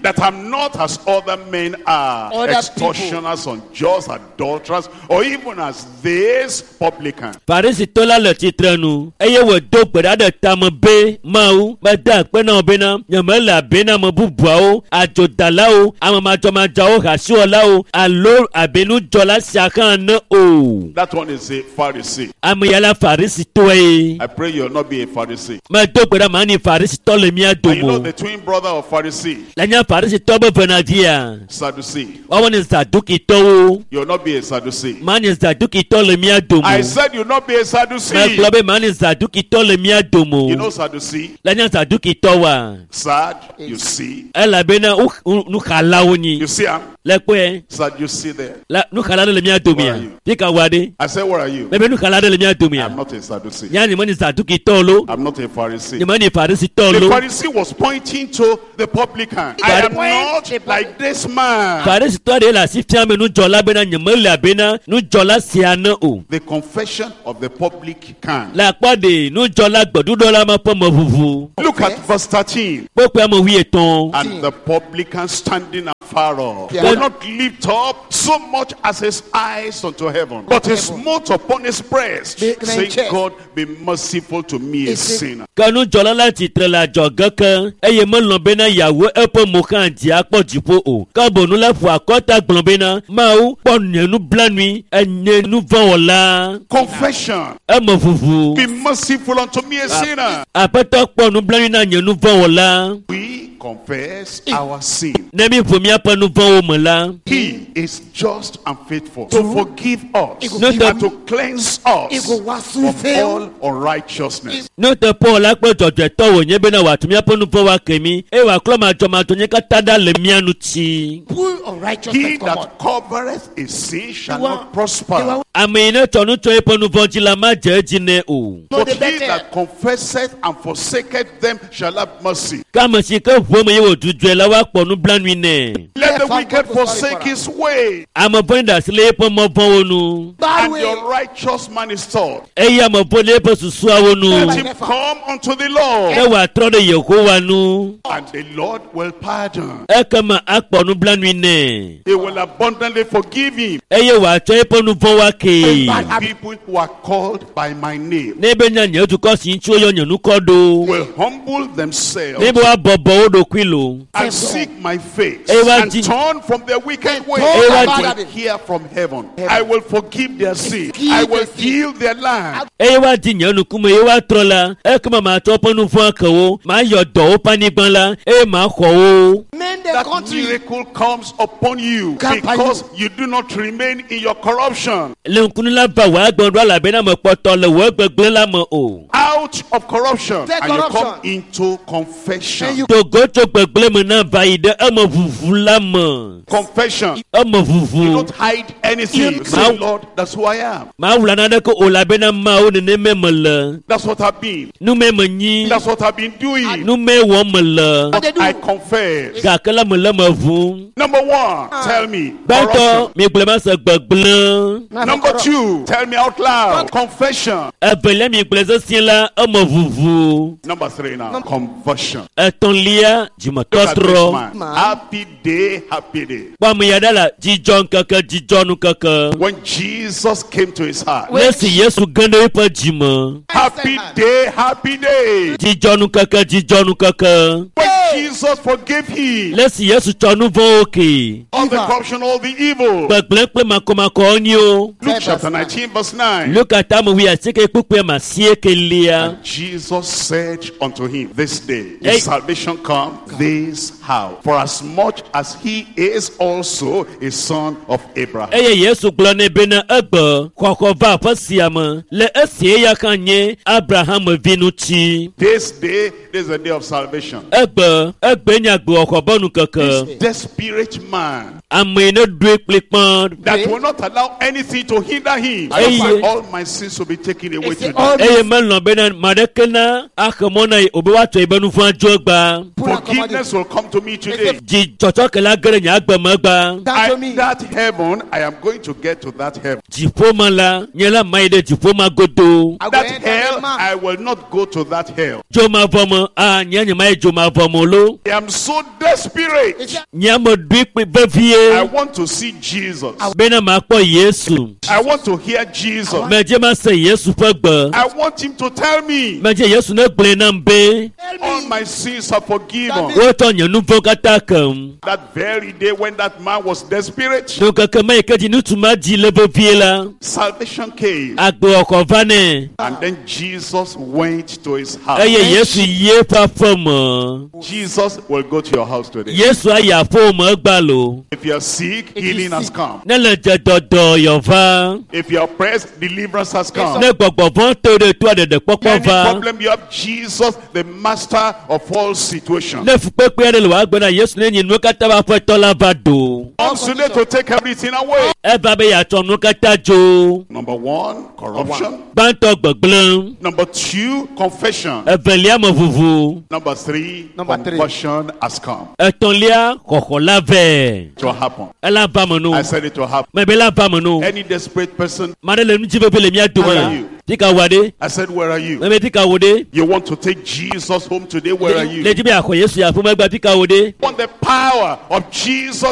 that I'm not as other men are, Other extortioners, unjust, adulterers, or even as this publican. Farisitɔ la le tsitre nu eye wòdo gbe ɖa ɖe tame be Mawu mede akpe na wò bena nyemele abe na ame bubuawo, adzodalawo, ame madzɔmadzɔawo, hasiwɔlawo alo abe nudzɔla sia hã ene o. That one is a Pharisee. Ame ya la Farisitɔe. I pray you'll not be a Pharisee. Medo gbe ɖa manyi Farisitɔ le mía And you know dome o. the twin brother of Pharisee, Le nye Farisitɔ be venavia, Sadducee. woawo nye Zadukitɔwo. You'll not be a Sadducee. Manyi Zadukitɔ le mía dome I o. said you'll not be a Sadducee. Megblɔ be manyi Zadukitɔ le mía dome You know o. Sadducee? Le nye Zadukitɔwoa. Sad, you see. Elabena wo nuxalawo nyi. You see, I'm Le kpɔe sad, you see there. la nuxala ɖe le mía domea. Where are you? Fi ka wɔ aɖe. I said, where are you? Mebe nuxala ɖe le mía domea. I'm not a Sadducee. Nya nye menye Zadukitɔ lo. I'm not a Pharisee. Nye menye Farisitɔ The lo. Pharisee was pointing to the publican. I am not like this man. Farisitɔ ɖe le asi fiam be nudzɔla bena nye mele abena nudzɔla sia ne o. The confession of the publican. Le akpɔ ɖe nudzɔla gbeɖuɖɔ ma ƒe meʋuʋu. Look at verse thirteen. Kpokpoe ame wuietɔ̃. And the publican standing afar off Yeah. would not lift up so much as his eyes unto heaven, but he smote upon his breast, Be- be- saying, chest. God, be merciful to me, a Is it- sinner. Ke nudzɔla la tsitre le adzɔge ke eye melɔ̃ bena yeawo eƒe mo hã dzi akpɔ dziƒo o. Ke bonu la ƒo akɔta gblɔ bena Mawu kpɔ nye nublanui enye nuvɔ̃wɔla. Confession. Eme ʋuʋu. Be merciful unto me, a sinner. Aƒetɔ kpɔ nublanui na nye nuvɔ̃wɔla. We confess our sin. Ne mi ʋu míaƒe nuvɔ̃wo me la, He is just and faithful to forgive us No, the- and to cleanse us Ego wasu from fail. all unrighteousness. nuteƒewɔla kple dzɔdzɔetɔ wònye bena wòatu míaƒe nuvɔ̃wo ake mí eye wòaklɔ madzɔmadzɔnye katã ɖa le mía ŋuti. Pull unrighteousness He come on. that covereth a sin shall The one- not prosper. the one- Ame yi ne tsɔ nu tsɔ eƒe nuvɔ̃ dzi la madze edzi nɛ o. No, But the he better. that confesseth and forsaketh them shall have mercy. Ke ame si ke ʋu eme ye wòdzudzɔe la woakpɔ nublanui nɛ. Let the Therefore, wicked God will sorry forsake for his way, Ame vɔ̃ɖi ɖe asi le eƒe mɔ vɔ̃wo nu Bad and way. the unrighteous man is taught. eye ame vɔ̃ɖi eƒe susuawo nu Let him come unto the ne Lord, wòatrɔ ɖe Yehowa nu and the Lord will pardon. ekema akpɔ nublanui nɛ He will abundantly forgive him. eye wòatsɔ eƒe nu vɔ̃wo akee. Bad People who are called by my name Ne be nya nye dukɔ si ŋuti woyɔ nye ŋkɔ ɖo will humble themselves ne be woabɔbɔ wo ɖokui lo and seek my face Ewa and ji- turn from their wicked ways. turn I about will it. hear from heaven. I will forgive their sin. Forgive I will their sin. heal their land. eye woadi nye nukume ye woatrɔ la ekema matsɔ woƒe nu vɔ̃ ake wo mayɔ dɔ woƒe anyigba la eye maxɔ wo. Men the That country. miracle comes upon you Come upon because you do not remain in your corruption. Le ŋkunu la va wò agbe ɖo elabena mekpɔtɔ le wò gbegblẽ la me o. Out of corruption Take and you come corruption. into confession. And you- Togo tso gbegblẽ me na va yi ɖe eme ʋuʋu la me. Confession. Eme You ʋuʋu. don't hide anything. You say, Lord, that's who I am. Mawula naneke o elabena Mawu nenemae mele. That's what I've been. Nume menyi. That's what I've been doing. Nume wɔm mele. What they do? I confess. Gake la mele me ʋum. Number one, tell me. Gbãtɔ Corruption. mi gblɔ ma se gbegblẽ. Na Number corrupt. two, tell me out loud. Confession. Evelia mi gblɔ sesĩe la la eme ʋuʋu Number three now, conversion. etɔ̃lia Look at this dzimetɔtrɔ man. Happy day, happy day. kpɔ ame ya ɖa la dzidzɔ ŋkeke dzidzɔ nukeke When Jesus came to his heart. le esi yesu ge ɖe eƒe dzime Happy day, happy day. dzidzɔ nukeke dzidzɔ nukeke When Jesus forgave him le esi yesu tsɔ nu vɔ̃wo ke all the corruption, all the evil. gbegblẽ kple makɔmakɔwo nyiwo Luke chapter nineteen, verse nine. luka tame wi asieke kpukpui ma asiekelia Jesus said unto him, This day Hey. is salvation come this house, for as much as he is also a son of Abraham. eye yesu gblɔ nɛ bena egbe xɔxɔ va aƒe sia me le esi eya hã nye abraham vi ŋuti This day, this is the day of salvation. egbe egbe nye agbewɔxɔ be nukeke Desperate man ame yi ne ɖoe kplikpã that will not allow anything to hinder him. I Hey. want all my sins to be taken away today. all eye melɔ̃ bena ame aɖeke na axe mɔ na ye o be woatsɔ yi be nu vɔ̃ adzo egba Forgiveness will come to me today. dzi tsɔtsɔke la ge ɖe nye agbe me egba Down to I, me. that heaven, I am going to get to that heaven. dziƒo me la nye la ma yi ɖe dziƒo ma godo I go That enter hell, the man. I will not go to that hell. dzomavɔ me a nye nye ma yi dzomavɔ me o lo I am so desperate. nye ame ɖoe kpli I vevie want to see Jesus. bena makpɔ yesu I want to hear Jesus. medze ma se yesu ƒe gbe I want him to tell me medze yesu ne gblɔe nam be all my sins are forgiven. wotsɔ nye nu vɔ̃ katã kem That very day when that man was desperate, nukeke me yi ke dzi ŋutsu ma dzi le vevie la salvation came. agbewɔxɔ va nɛ And then Jesus went to his house. eye yesu yi eƒe aƒe me Jesus will go to your house today. yesu ayi aƒewò me egba lo If you are sick, If you healing has sick. come. ne le dze dɔdɔ yɔva If you are oppressed, deliverance has come. ne gbɔgbɔ vɔ̃ to ɖe toa ɖeɖekpɔkpɔ Any va problem you have, Jesus, the master of all situations. ne fukpekpe aɖe le wò agbe na yesu ne nyi nuwo katã ƒe aƒetɔ la va do Comes today to take everything away. eva be yeatsɔ nuwo katã dzo Number one, corruption. gbãtɔ gbegblẽ Number two, confession. evelia me ʋuʋu Number three, Number three. conversion has come. etɔ̃lia xɔxɔ la vɛ It will happen. ela va me no I said it will happen. mebe la va me no Any desperate person, ame aɖe le nu dzi vevie le mía Where are dome you? fi ka wòa ɖe I said, where are you? mebe fi ka wò ɖe You want to take Jesus home today? Where are le you? dzi be yeaxɔ yesu yi aƒeme gba fi ka wò ɖe Want the power of Jesus